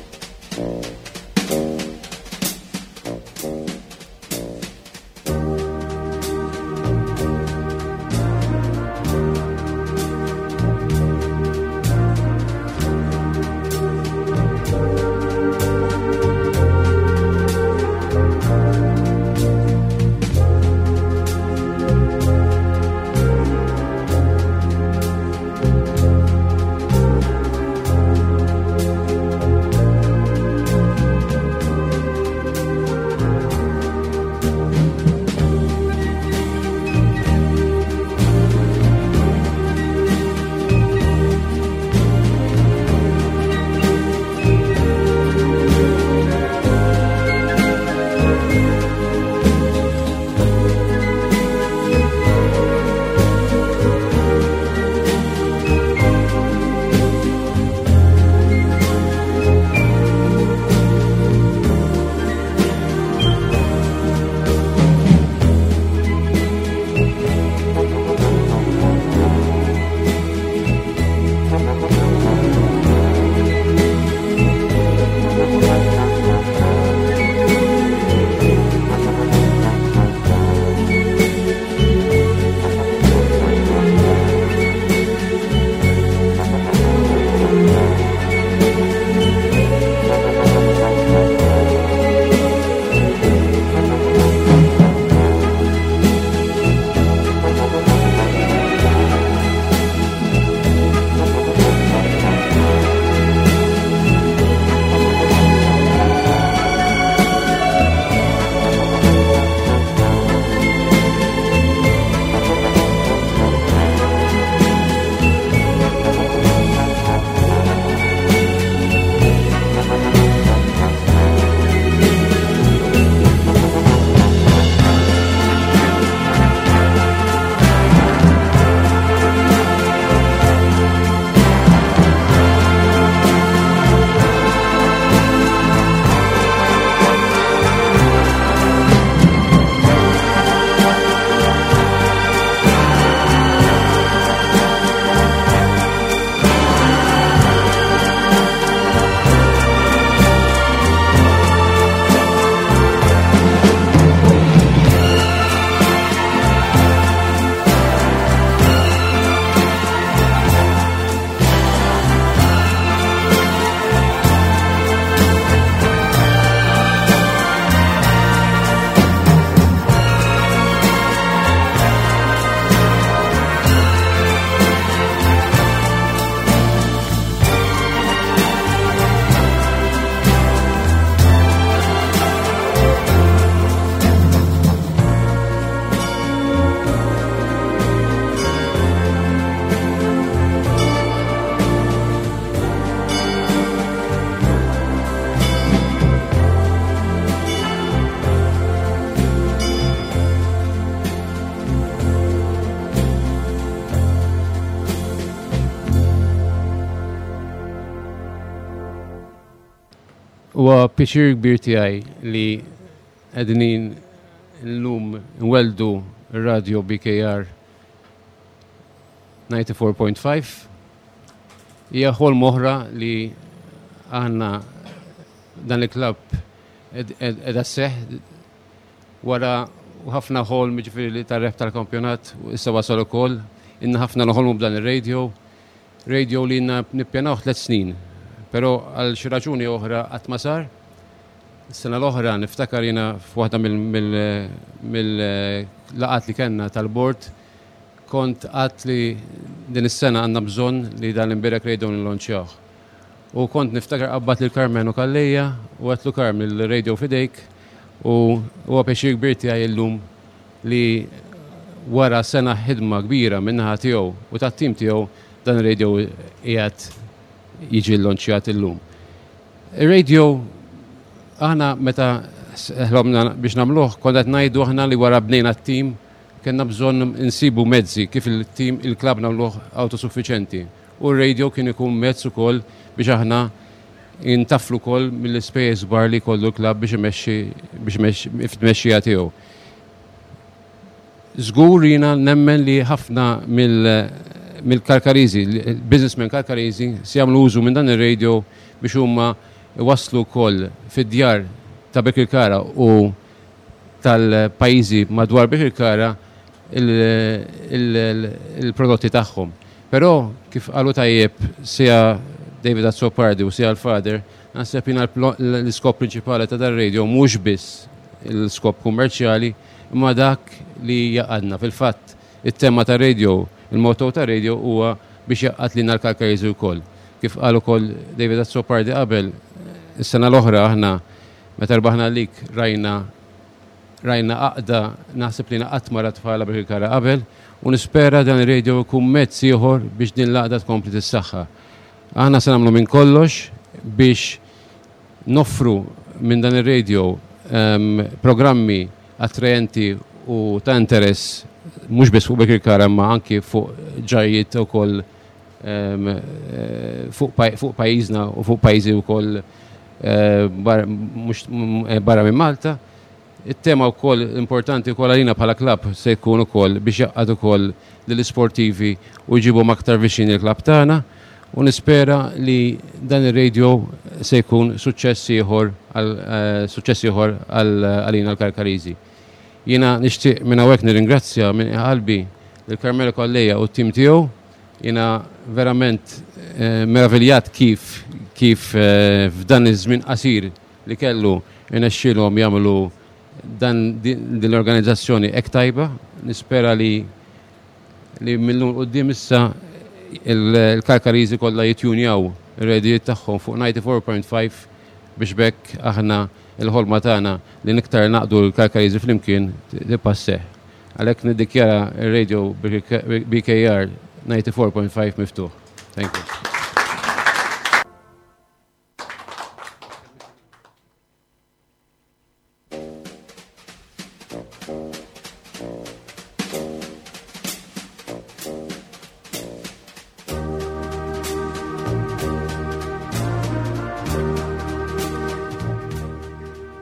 Huwa pjaċir kbir tiegħi li qegħdin illum nwelldu r-radio B K R disgħa u disgħin punt ħamsa. Hija ħolm oħra li aħna dan il-klabb qiegħda sseħħ wara ħafna ħolm, ġifieri li tar-rebħ tal-kampjonat u issa wasal ukoll. Ilna ħafna noħolmu b'dan ir-radio. Radio li ilna nippjanaw tliet snin, però għal xi raġuni oħra qatt ma sar. Is-sena l-oħra niftakar jiena f'waħda mill-laqgħat li kellna tal-bord kont għedt li din is-sena għandna bżonn li dan l-imbierek radio nillonċjawh. U kont niftakar qabbadt lil Karmenu Calleja u għedtlu, "Karm, il-radio f'idejk," u huwa pjaċir kbir tiegħi illum li wara sena ħidma kbira min-naħa tiegħu u tat-tim tiegħu dan ir-radio qiegħed jiġi llonċjat illum. Ir-radio aħna meta ħlomna biex nagħmluh konna qed ngħidu aħna li wara bnejna t-tim kellna bżonn insibu mezzi kif il-tim il-klabb nagħmluh autosuffiċenti. U r-radio kien ikun mezz ukoll biex aħna intaflu wkoll mill-ispejjeż kbar li kollu l-klabb biex imexxi biex imexxi fit-tmexxija tiegħu. Żgur jiena nemmen li ħafna mill-Karkariżi, businessmen Karkariżi, se jagħmlu użu minn dan ir-radio biex huma waslu wkoll fid-djar ta' Birkirkara u tal-pajjiżi madwar Birkirkara il-prodotti tagħhom. Però kif qalu tajjeb sia David Azzopardi u sia l-Father, naħseb jiena l-iskop prinċipali ta' dar-radio mhux biss l-iskop kummerċjali, imma dak li jgħaqqadna. Fil-fatt, it-tema ta' radio, il-motto ta' radio huwa biex jgħaqqad lilna l-Karkariżi wkoll. Kif qal ukoll David Azzopardi qabel, is-sena l-oħra aħna meta rbaħna lik rajna rajna għaqda naħseb li qatt ma rat bħala Birkirkara qabel u nispera dan ir-radio jkun mezz ieħor biex din l-għaqda tkompli tissaħħa. Aħna se nagħmlu minn kollox biex noffru minn dan ir-radio um, programmi attrajenti u ta' interess mhux biss fuq Birkirkara imma anki fuq ġajjiet ukoll um, fuq fuq pajjiżna u fuq pajjiżi wkoll uh, mhux barra minn Malta. It-tema wkoll importanti wkoll għalina bħala klabb se jkun ukoll biex jgħaqqad ukoll lill-isportivi u jġibhom aktar viċin il-klabb tagħna u nispera li dan ir-radio se jkun suċċess ieħor suċċess ieħor għalina l-Karkariżi. Jiena nixtieq minn hawnhekk nirringrazzja minn qalbi lil Carmelo Calleja u t-tim tiegħu. Jiena verament meraviljat kif kif f'dan iż-żmien qasir li kellu irnexxielhom jagħmlu dan din l-organizzazzjoni hekk tajba. Nispera li li mil-lum 'l quddiem issa il-Karkariżi kollha jittjunjaw ir-radijiet tagħhom fuq disgħa u disgħin punt ħamsa biex b'hekk aħna il-ħolma tagħna li iktar ngħaqqdu l-Karkariżi flimkien tibqa' sseħħ. Għalhekk niddikjara ir-radio B K R disgħa u disgħin punt ħamsa miftuħ. Thank you.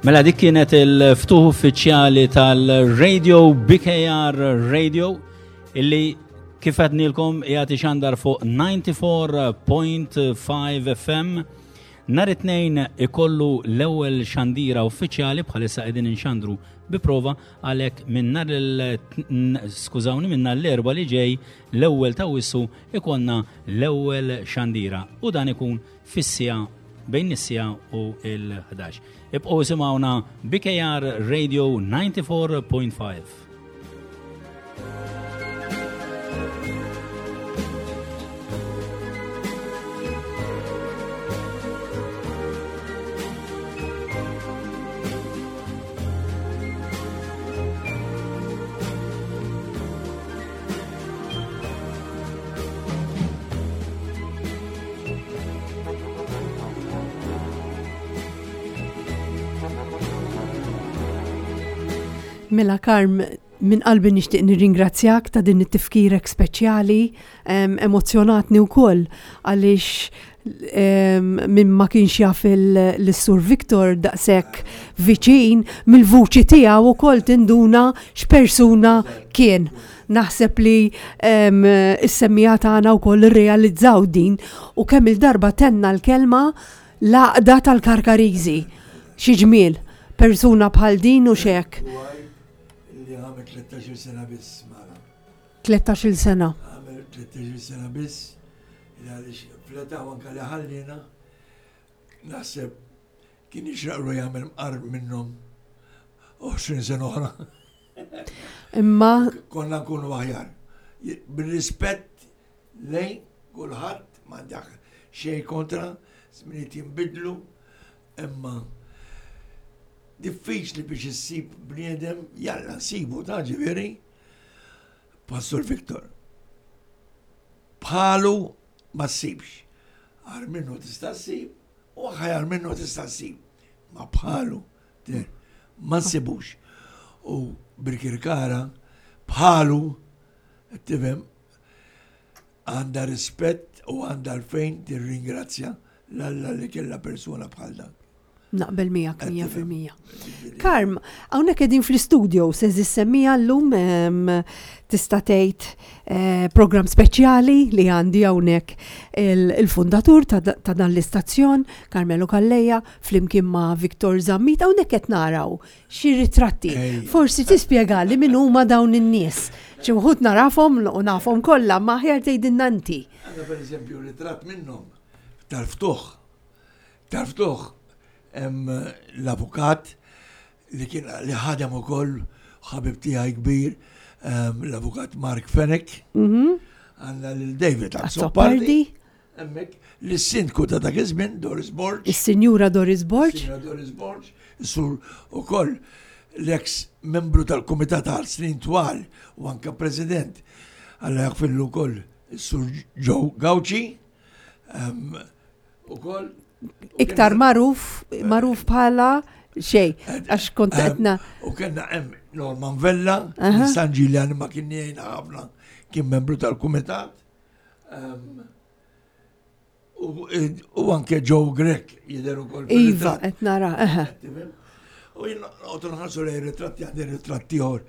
Mela dik kienet il-ftuħ uffiċjali tal-Radio B K R Radio illi kif għednilkom qiegħed ixandar fuq disgħa u disgħin punt ħamsa F M. Nhar it-Tnejn ikollu l-ewwel xandira uffiċjali. Bħalissa qegħdin inxandru bi prova, għalhekk minn nhar il skużawni, minn nhar l-Erbgħa li ġej, l-ewwel ta' Awwissu, ikollna l-ewwel xandira u dan ikun fis-siegħa, bejn is-siegħa u l-ħdax. Ibqgħu isimgħuna, B K R Radio disgħa u disgħin punt ħamsa. Mela Karm, Minn qalbi nixtieq nirringrazzjak ta' din it-tifkirek speċjali, emozzjonatni wkoll għaliex min ma kienx jaf l-Sur Victor daqshekk viċin mill-vuċi tiegħu ukoll tinduna x'persuna kien. Naħseb li is-semmiegħa tagħna wkoll irrealizzaw din u kemm il-darba tenna l-kelma l-għaqda tal-Karkariżi. Xi ġmiel, persuna bħal din u xek. Li għamel tlettax-il sena biss magħna. Tlettax-il sena. Għamel tlettax-il sena biss, għaliex fl-età anke li ħallina, naħseb kien jixraqlu jagħmel mqar minnhom għoxrin sena oħra. Imma konna nkunu aħjar. Bir-rispett lejn kulħadd, m'għandek xejn kontra, żminijiet jinbidlu, imma diffiċli biex issib bniedem, jalla nsibu ta' ġifieri, Pastor Victor. Bħalu ma ssibx. Għar minnu tista' ssib, u aħjar minnu tista' ssib. Ma bħalu ma nsibux. U Birkirkara bħalu, tifhem, għandha rispett u għandha għalfejn tirringrazzja l-Alla li kellha persuna bħal dak. Naqbel miegħek mija fil-mija. Karm, hawnhekk qegħdin fl-istudio se semmija llum tista' tgħid eh, program speċjali li għandi hawnhekk il-fundatur ta' dan l-istazzjon, Carmelo Calleja, flimkien ma' Victor Zammit, hawnhekk qed naraw xi ritratti. Forsi tispjegali min huma dawn in-nies. Xi wħud narafhom u nafhom kollha, ma aħjar tgħidilna inti. Għandna pereżempju ritratt minnhom tal-ftuħ. Tal-ftuħ hemm l-avukat li kien li ħadem ukoll ħabib tiegħi kbir, l-avukat Mark Fenech. Għandna lil David Azzopardi. Hemmhekk lis-sindku ta' dak iż-żmien Doris Borg. Is-Sinjura Doris Borg. Is-Sinjura Doris Borg, sur ukoll l-ex membru tal-Kumitat għal snin twal u anke president għalla jaghfirlu wkoll is-Sur Joe Gauci. Ukoll Iktar magħruf, magħruf bħala xej, għax kont qedna. U kellna hemm Norman Vella, San Ġiljan ma kien jgħinna ħafna, kien membru tal-kumitat. U anke Joe Grech jidher ukoll Iva, qed nara, eħe. U jien noqgħod nħarsu lejn ritratti, għandi ritratti ieħor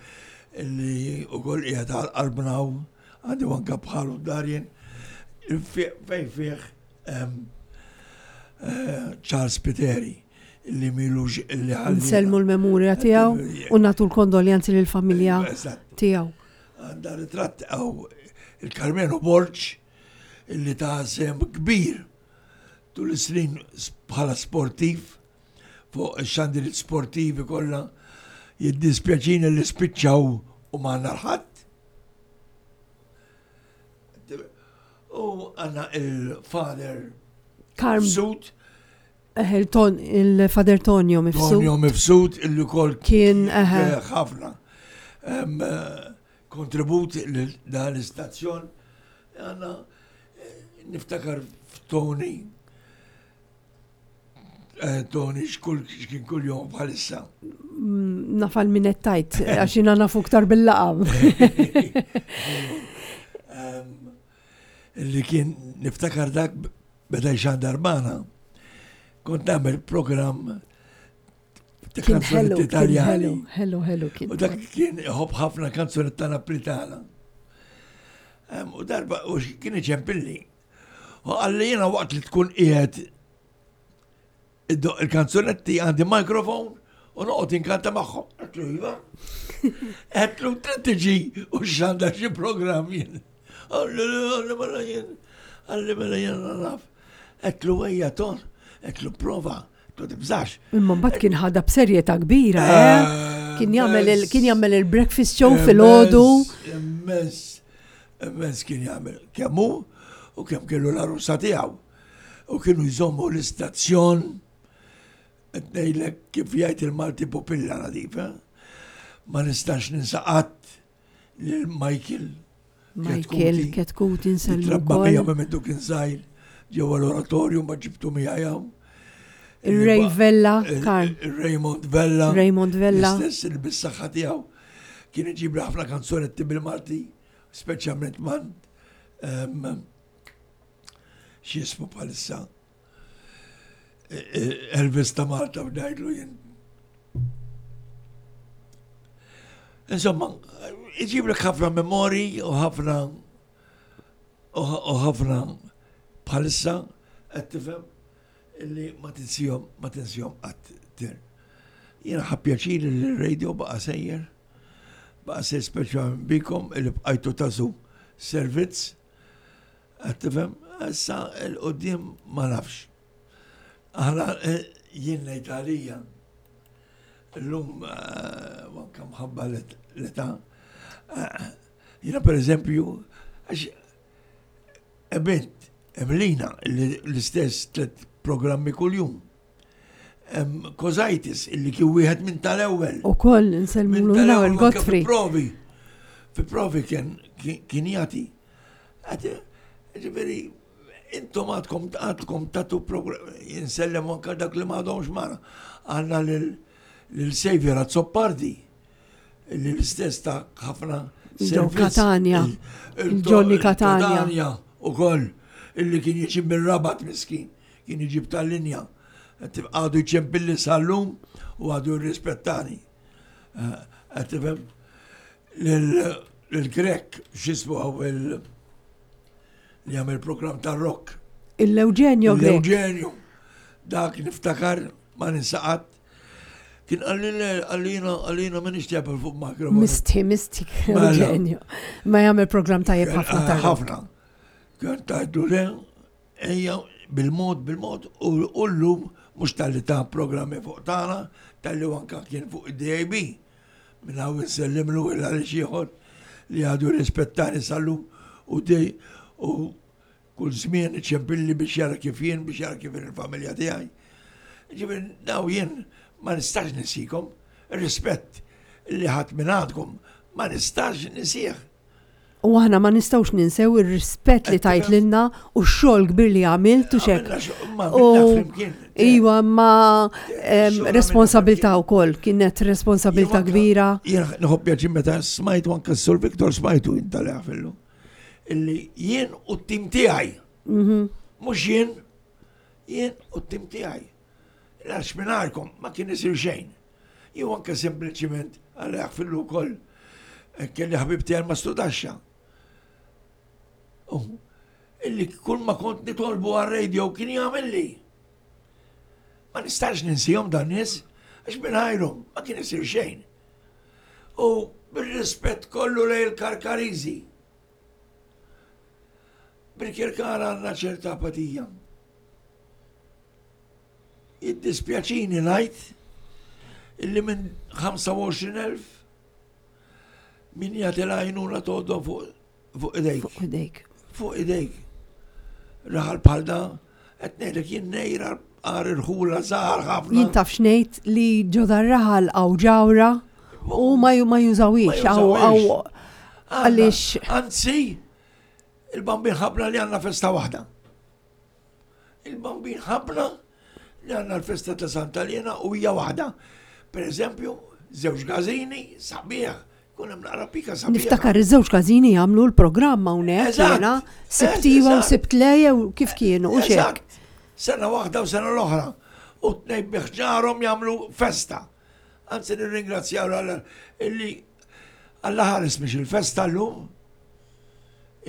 li wkoll qiegħed għal qalbna u għandi anke bħalu Darien fejn fih Charles Piteri li milux li ħalli. Nsellmu l-memorja tiegħu u nagħtu l-kondoljanzi lill-familja tiegħu. Għandha ritratt għaw il-Carmelo Borg illi ta' sem kbir tul is-snin bħala sportiv fuq ix-xandiriet sportivi kollha jiddispjaċini li spiċċaw u ma għandna l-ħadd. U għandna il-Father Karm Mifsud. Il-Father Tonio Mifsud. Tonio Mifsud illi kol kien, eħe. ħafna kontribut lil dan l-istazzjon. Għanna niftakar f'Tony. Tony xkull xkien kull jom bħalissa. Nafal min qed tajt, għax jiena nafu ktar bil-laqam. Li kien niftakar dak beda jxandar magħna. Kont nagħmel programm ta' Kien kanzunetti ħelu, kien Italjani. ħelu, ħelu, ħelu kien. U dak kien iħobb ħafna kanzunetta Napolitana. U darba, u kien iċempilli. U qalli jiena waqt li tkun qiegħed iddoq il-kanzunetti għandi mikrofon u noqgħod inkanta magħhom. Għedtlu iva. Għedtlu trid tiġi u x'għandha xi programm jien. Qalli qalli mela jien. Qalli mela jien naf. Għedtlu ejja ton, għedtlu prova, għedtlu tibżax. Imma mbagħad kien ħadha b'serjetà kbira, eh? Kien jagħmel il-, kien jagħmel il-breakfast show filgħodu. Immens, immens kien jagħmel kemm hu u kemm kellu l-arusa tiegħu. U kienu jżommu l-istazzjon qed ngħidlek kif jgħid il-Malti pupilla nadif, eh? Ma nistax ninsa qatt lil Michael Michael Ketkuti nselmu Trabba wkoll. miegħu minn mindu kien żgħir ġewwa l-oratorju ma ġibtu miegħi hawn. Ir-Ray Vella, Il- Karl. Il-Raymond Vella. Raymond Vella. L-istess li bis-saħħa tiegħu Kien iġib ħafna kanzunetti bil-Malti, speċjalment man x'jismu bħalissa. E, e, Elvis ta' Malta b'dajdlu jien. Insomma, iġiblek ħafna memori u ħafna u ħafna bħalissa qed tifhem illi ma tinsihom ma tinsihom qatt tir. Jiena ħa pjaċir li r-radio baqa' sejjer, baqa' sejjer speċjalment bikom illi bqajtu tasu servizz, qed tifhem, issa l-qudiem ma nafx. Aħna eh, jien ngħid għalija llum eh, anke mħabba l-età. Eh, jiena pereżempju, għax ebint Emlina l-istess tliet programmi kuljum. Kozajtis illi kien wieħed minn tal-ewwel. Ukoll nsellmulu l-ewwel Godfrey. Provi. Fi provi kien kien jagħti. Ġifieri intom għadkom għadkom tatu program jinsellem anke dak li m'għadhomx magħna. Għandna lil Xavier Azzopardi li l-istess ta' ħafna Joe Catania. Il-Johnny Catania. Catania ukoll illi kien jiġi mir-Rabat miskin, kien jiġib tal-linja. Għadu jċempilli sal-lum u għadu jirrispettani. Eh, qed tifhem lil-Grek x'ismu għaw il- li għamil program ta' rock. Il-Eugenio Grek. L-Eugenio. Dak niftakar ma ninsaqat. Kien għalli għallina għallina ma nixtieq fuq mikrofon. Misti, misti, Mela. Eugenio. Ma jagħmel program tajjeb ħafna ta' rock. Ħafna. Kien tajdu le, ejja bil-mod, bil-mod, u llum mhux tal-li ta' programmi fuq tagħna, tal-li anka kien fuq id-D A B. Minn hawn insellimlu il għal ieħor li għadu rispettani sal-lum u dej u kull żmien iċempilli biex jara kif jien, biex jara kif il-familja tiegħi. Ġifieri daw jien ma nistax nisikom, rispett li ħadd minn għandkom ma nistax nisih. U aħna ma nistgħux ninsew ir-rispett li tajt lilna u x-xogħol kbir li għamilt u xek. Għamilna xogħol, ma U għamilna flimkien. Iwa, ma em, Xogħol responsabilta għamilna u koll, kienet responsabilta kbira. Jien nħobb pjaċir meta smajtu anke s-Sur Viktor smajtu inta fillu. Illi jien u t-tim tiegħi. Mhm. Mhux jien, jien u t-tim tiegħi. Għax mingħajrkom ma kien isir xejn. Jew anke sempliċiment għal fillu wkoll eh, kelli ħabib tiegħi ma studaxxa. U illi kull ma kont nitolbu għal-radio kien jagħmel. Ma nistax ninsihom dan nies għax mingħajrhom ma kien isir xejn. U bir-rispett kollu lejn il-Karkariżi. Bil-Kirkara għandna ċerta apatija. Jiddispjaċini ngħid illi minn ħamsa u għoxrin elf min jagħti l-għajnuna tgħoddhom fuq fuq idejk. Fuq idejk. Fuq idejk. Raħal bħal da, qed ngħidlek jien nejra għar irħula żgħar ħafna. Jien taf x'ngħid li ġo dar-raħal għaw ġawra u ma ju- ma jużawix. Ma Għaw għaw jużawix. għaliex Anzi, il-Bambin ħabna li għandna festa waħda. Il-Bambin ħabna li għandna l-festa ta' Santa Lena u hija waħda. Per eżempju, żewġ każini, sabiħ, kun hemm naqra pika sabiħ. Niftakar iż-żewġ każini jagħmlu l-programm hawnhekk Eżatt. jiena Sibt iva u Eżatt. Sibt le jew kif kienu u xek. Eżatt. Sena waħda u sena l-oħra. U tnejn biħġarhom jagħmlu festa. Anzi nirringrazzjaw l illi Alla ħares mhix il-festa llum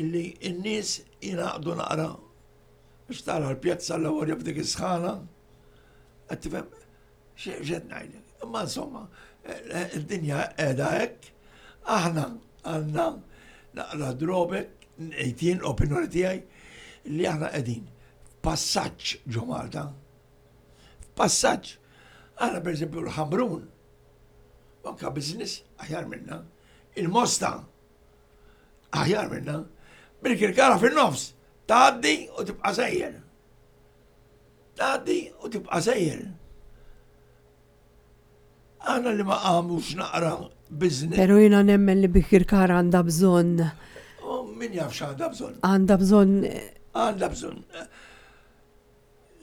illi n-nies jingħaqdu naqra biex tara l-pjazza l-ewwel f'dik is-sħana. Qed tifhem x'qed ngħidlek. Imma insomma, eh, id-dinja qiegħda hekk, aħna għandna naqra drawback, ngħid jien opinjoni tiegħi li aħna qegħdin f'passaġġ ġo Malta. F'passaġġ. Aħna pereżempju l-Ħamrun, anka business aħjar minna, il-Mosta aħjar minna, bil-Kirkara fin-nofs, tgħaddi u tibqa' sejjer. Tgħaddi u tibqa' sejjer. Aħna li ma qamux naqra business. Pero jiena nemmen li Birkirkara għandha bżonn U min jaf x'għandha bżonn. Għandha bżonn. Għandha bżonn.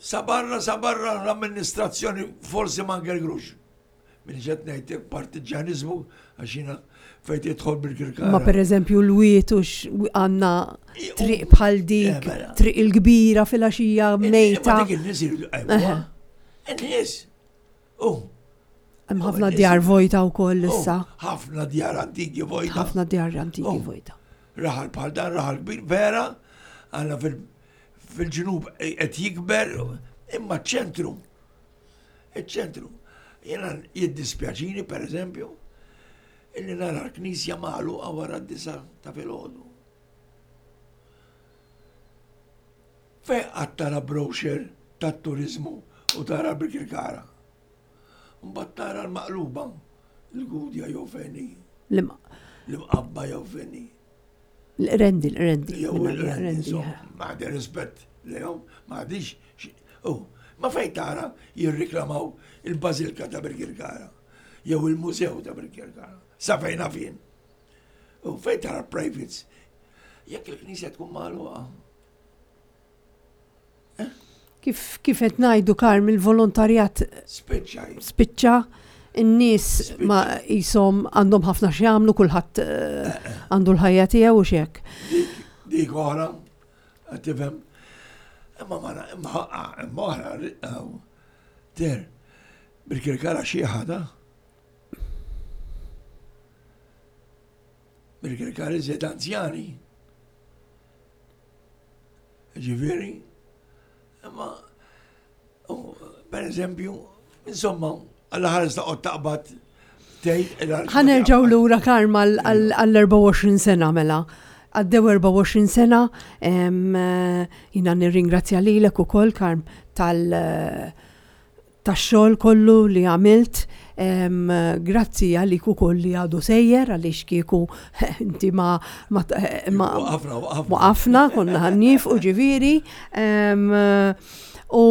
Sabarra, sabarra l-amministrazzjoni forsi ma ngergrux. Minn ġed ngħid partiġjaniżmu għax jiena fejn tidħol Birkirkara. Ma per eżempju l-wiet u għandna triq bħal dik, eh, mela. triq il-kbira fil-għaxija mejta. Ma dik in-nies iridu jqajmuha. In-nies. U. Hemm ħafna djar vojta wkoll issa. Ħafna djar antiki vojta. Ħafna djar antiki vojta. Raħal bħal dan, raħal kbir, vera, għandna fil-ġnub qed jikber, imma ċ-ċentru. Iċ-ċentru. Jiena jiddispjaċini, per eżempju, illi nara l-knisja magħluqa wara d-disa ta' filgħodu. Fejn qatt tara brochure tat-turiżmu u tara Birkirkara? Mbagħad tara l-maqluba, l-Gudja jew fejn hi. L-Imqabba jew fejn hi. L-Qrendi, l-Qrendi. Jew l-Qrendi, ma għandi rispett lejhom, ma għandix. Ma fejn tara jirriklamaw il-Bażilka ta' Birkirkara jew il-Mużew ta' Birkirkara. Sa fejn naf jien. U fejn tara privates. Jekk il-knisja tkun magħluqa. Eh? Kif kif qed ngħidu Karm il-volontarjat spiċċa. Spiċċa in-nies ma jisom għandhom ħafna x'jagħmlu, kulħadd eh, eh, għandu l-ħajja tiegħu u x'hekk. Dik oħra, tifhem. Imma ma imma imma oħra ter Birkirkara xi ħada. Birkirkara iżjed anzjani. Ġifieri, imma per eżempju, insomma, għalla ħares ta' taqbad tgħid. Ħa nerġgħu lura Karm għall-erbgħa u għoxrin sena mela. Għaddew erbgħa u għoxrin sena, jiena nirringrazzja lilek ukoll Karm tal tax-xogħol kollu li għamilt. Grazzi għalik ukoll li għadu sejjer għaliex kieku inti ma ma waqafna konna ħanniefqu ġifieri. U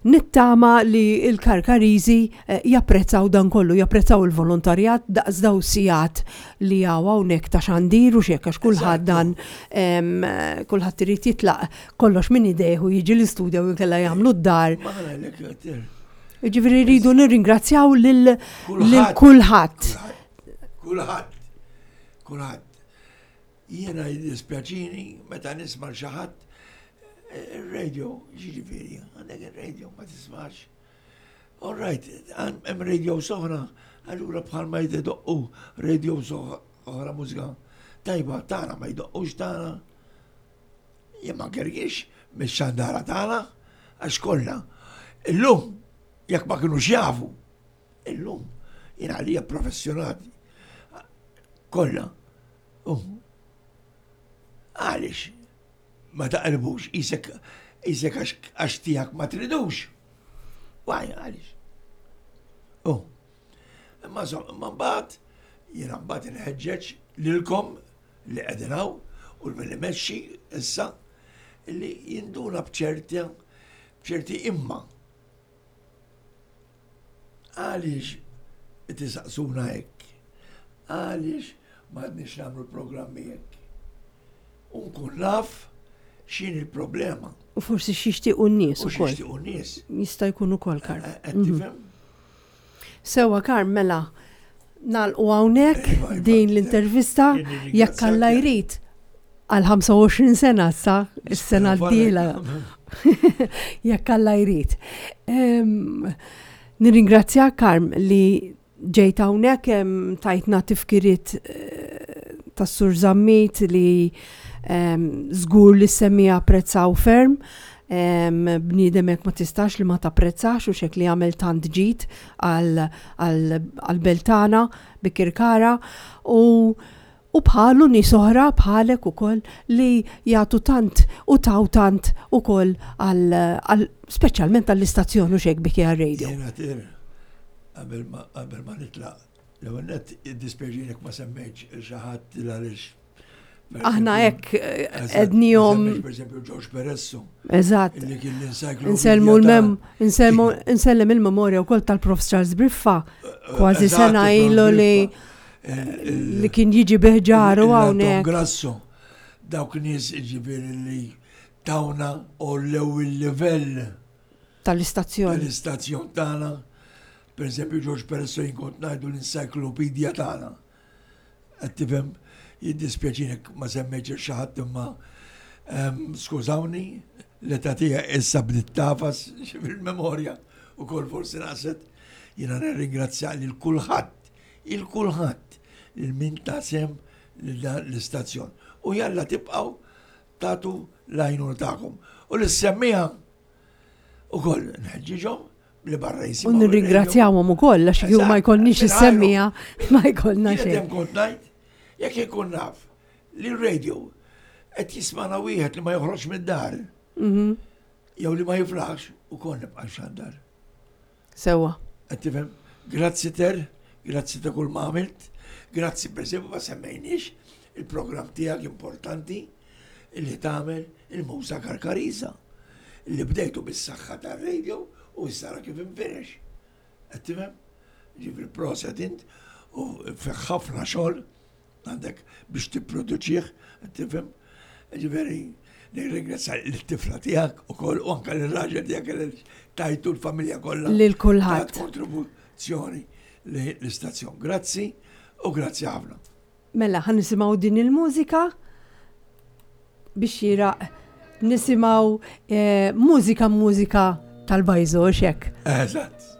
nittama li l-Karkariżi japprezzaw dan kollu, japprezzaw il-volontarjat daqs daw sigħat li hawn hawnhekk ta' xandir u x'hekk għax kulħadd dan kulħadd irid jitlaq kollox minn idejh u jiġi l-istudja u inkella jagħmlu d-dar. Jiġifieri rridu nirringrazzjaw lil kulħadd. Kulħadd. Kulħadd. Jiena jiddispjaċini meta nisma' xi ħadd il-radio, ġifieri, għandek il-radio, ma tismax. All right, hemm radio soħra, allura bħalma jdoqqu radio oħra mużika tajba tagħna ma jdoqqux tagħna. Jien ma nkergix mix-xandara tagħna għax kollha. Illum jekk ma kinux jafu, illum jien għalija professjonati kollha. Għaliex ma taqrbux isek isek għax tiegħek ma tridux. Waj, għaliex. Oh. Imma imma mbagħad jiena mbagħad inħeġġeġ lilkom li qegħdin hawn u l-min imexxi issa li jinduna b'ċerti b'ċerti imma. Għaliex tisaqsuna hekk? Għaliex ma għadniex nagħmlu programmi hekk? U nkun naf x'inhi il-problema. U forsi x'jixtiequ n-nies U ukoll. x'jixtiequ n-nies. Jista' jkun ukoll, Karm. Qed tifhem? Sewwa Karm, mela nagħlqu hawnhekk Iva, iva. din l-intervista jekk Alla jrid għal ħamsa u għoxrin sena issa, is-sena d-dieħla. Jekk Alla jrid. Nirringrazzjak Karm li ġejt hawnhekk tajtna tifkiriet tas-Sur Zammit li żgur li semmija apprezzaw ferm. Bniedem hekk ma tistax li ma tapprezzax u xek li għamel tant ġid għal-beltana Bikirkara u u bħalu nies oħra bħalek ukoll li jagħtu tant u taw tant ukoll għal speċjalment għall-istazzjon u xek B K R Radio. Jiena tir qabel ma qabel ma nitlaq l-ewwel nett jiddispjaċini jekk ma semmejtx il xi ħadd għaliex Aħna hekk ednihom. Per eżempju George Peresso. Eżatt. Illi kien l-encyclopedia Insellmu l-mem, ta' insellmu, insellem il-memorja wkoll tal-Prof Charles Briffa, kważi Eżatt, sena il-Prof ilu li Briffa. Il-, il-, li kien jiġi biħġaru il-, il-, hawnhekk. Grasso, dawk nies ġifieri li tawna u l-ewwel livell tal-istazzjon. Tal-istazzjon tagħna. Per eżempju, George Perez jien kont ngħidu l-encyclopedia tagħna. Qed tifhem, jiddispjaċini ma semmejtx xi ħadd imma skużawni, l-età tiegħi issa bdiet tagħfas fil-memorja u kol forsi naqset. Jiena nirringrazzja lil kulħadd, il kulħadd, lil min ta sehem l-istazzjon. U jalla tibqgħu tagħtu l-għajnuna tagħkom. U l-semmiegħa ukoll nħeġġiġhom li barra jisimgħu. U nirringrazzjawhom ukoll għax kieku ma jkollniex is-semmiegħa ma jkollna xejn. Kont ngħid, jekk ikun naf li r-radio qed jismana wieħed li ma joħroġ mid-dar. Mhm. Jew li ma jiflaħx ukoll nibqa' xandar. Sewwa. Qed tifhem? Grazzi Ter, grazzi ta' kull ma għamilt, grazzi per esempio ma semmejniex il-programm tiegħek importanti li tagħmel il-Muża Karkariża li bdejtu bis-saħħa tar-radio u issa kif infirex. Qed tifhem? Ġifieri proset int u fih ħafna xogħol għandek biex tipproduċih, qed tifhem? Ġifieri nirringrazzja l-tifla tiegħek ukoll u anke l-raġel tiegħek li tajtu l-familja kollha. Lil kulħadd. Kontribuzzjoni l-istazzjon. Grazzi u grazzi ħafna. Mela, ħa nisimgħu din il-mużika biex jiraq nisimgħu eh, mużika mużika tal-bajżo, xek. Eżatt.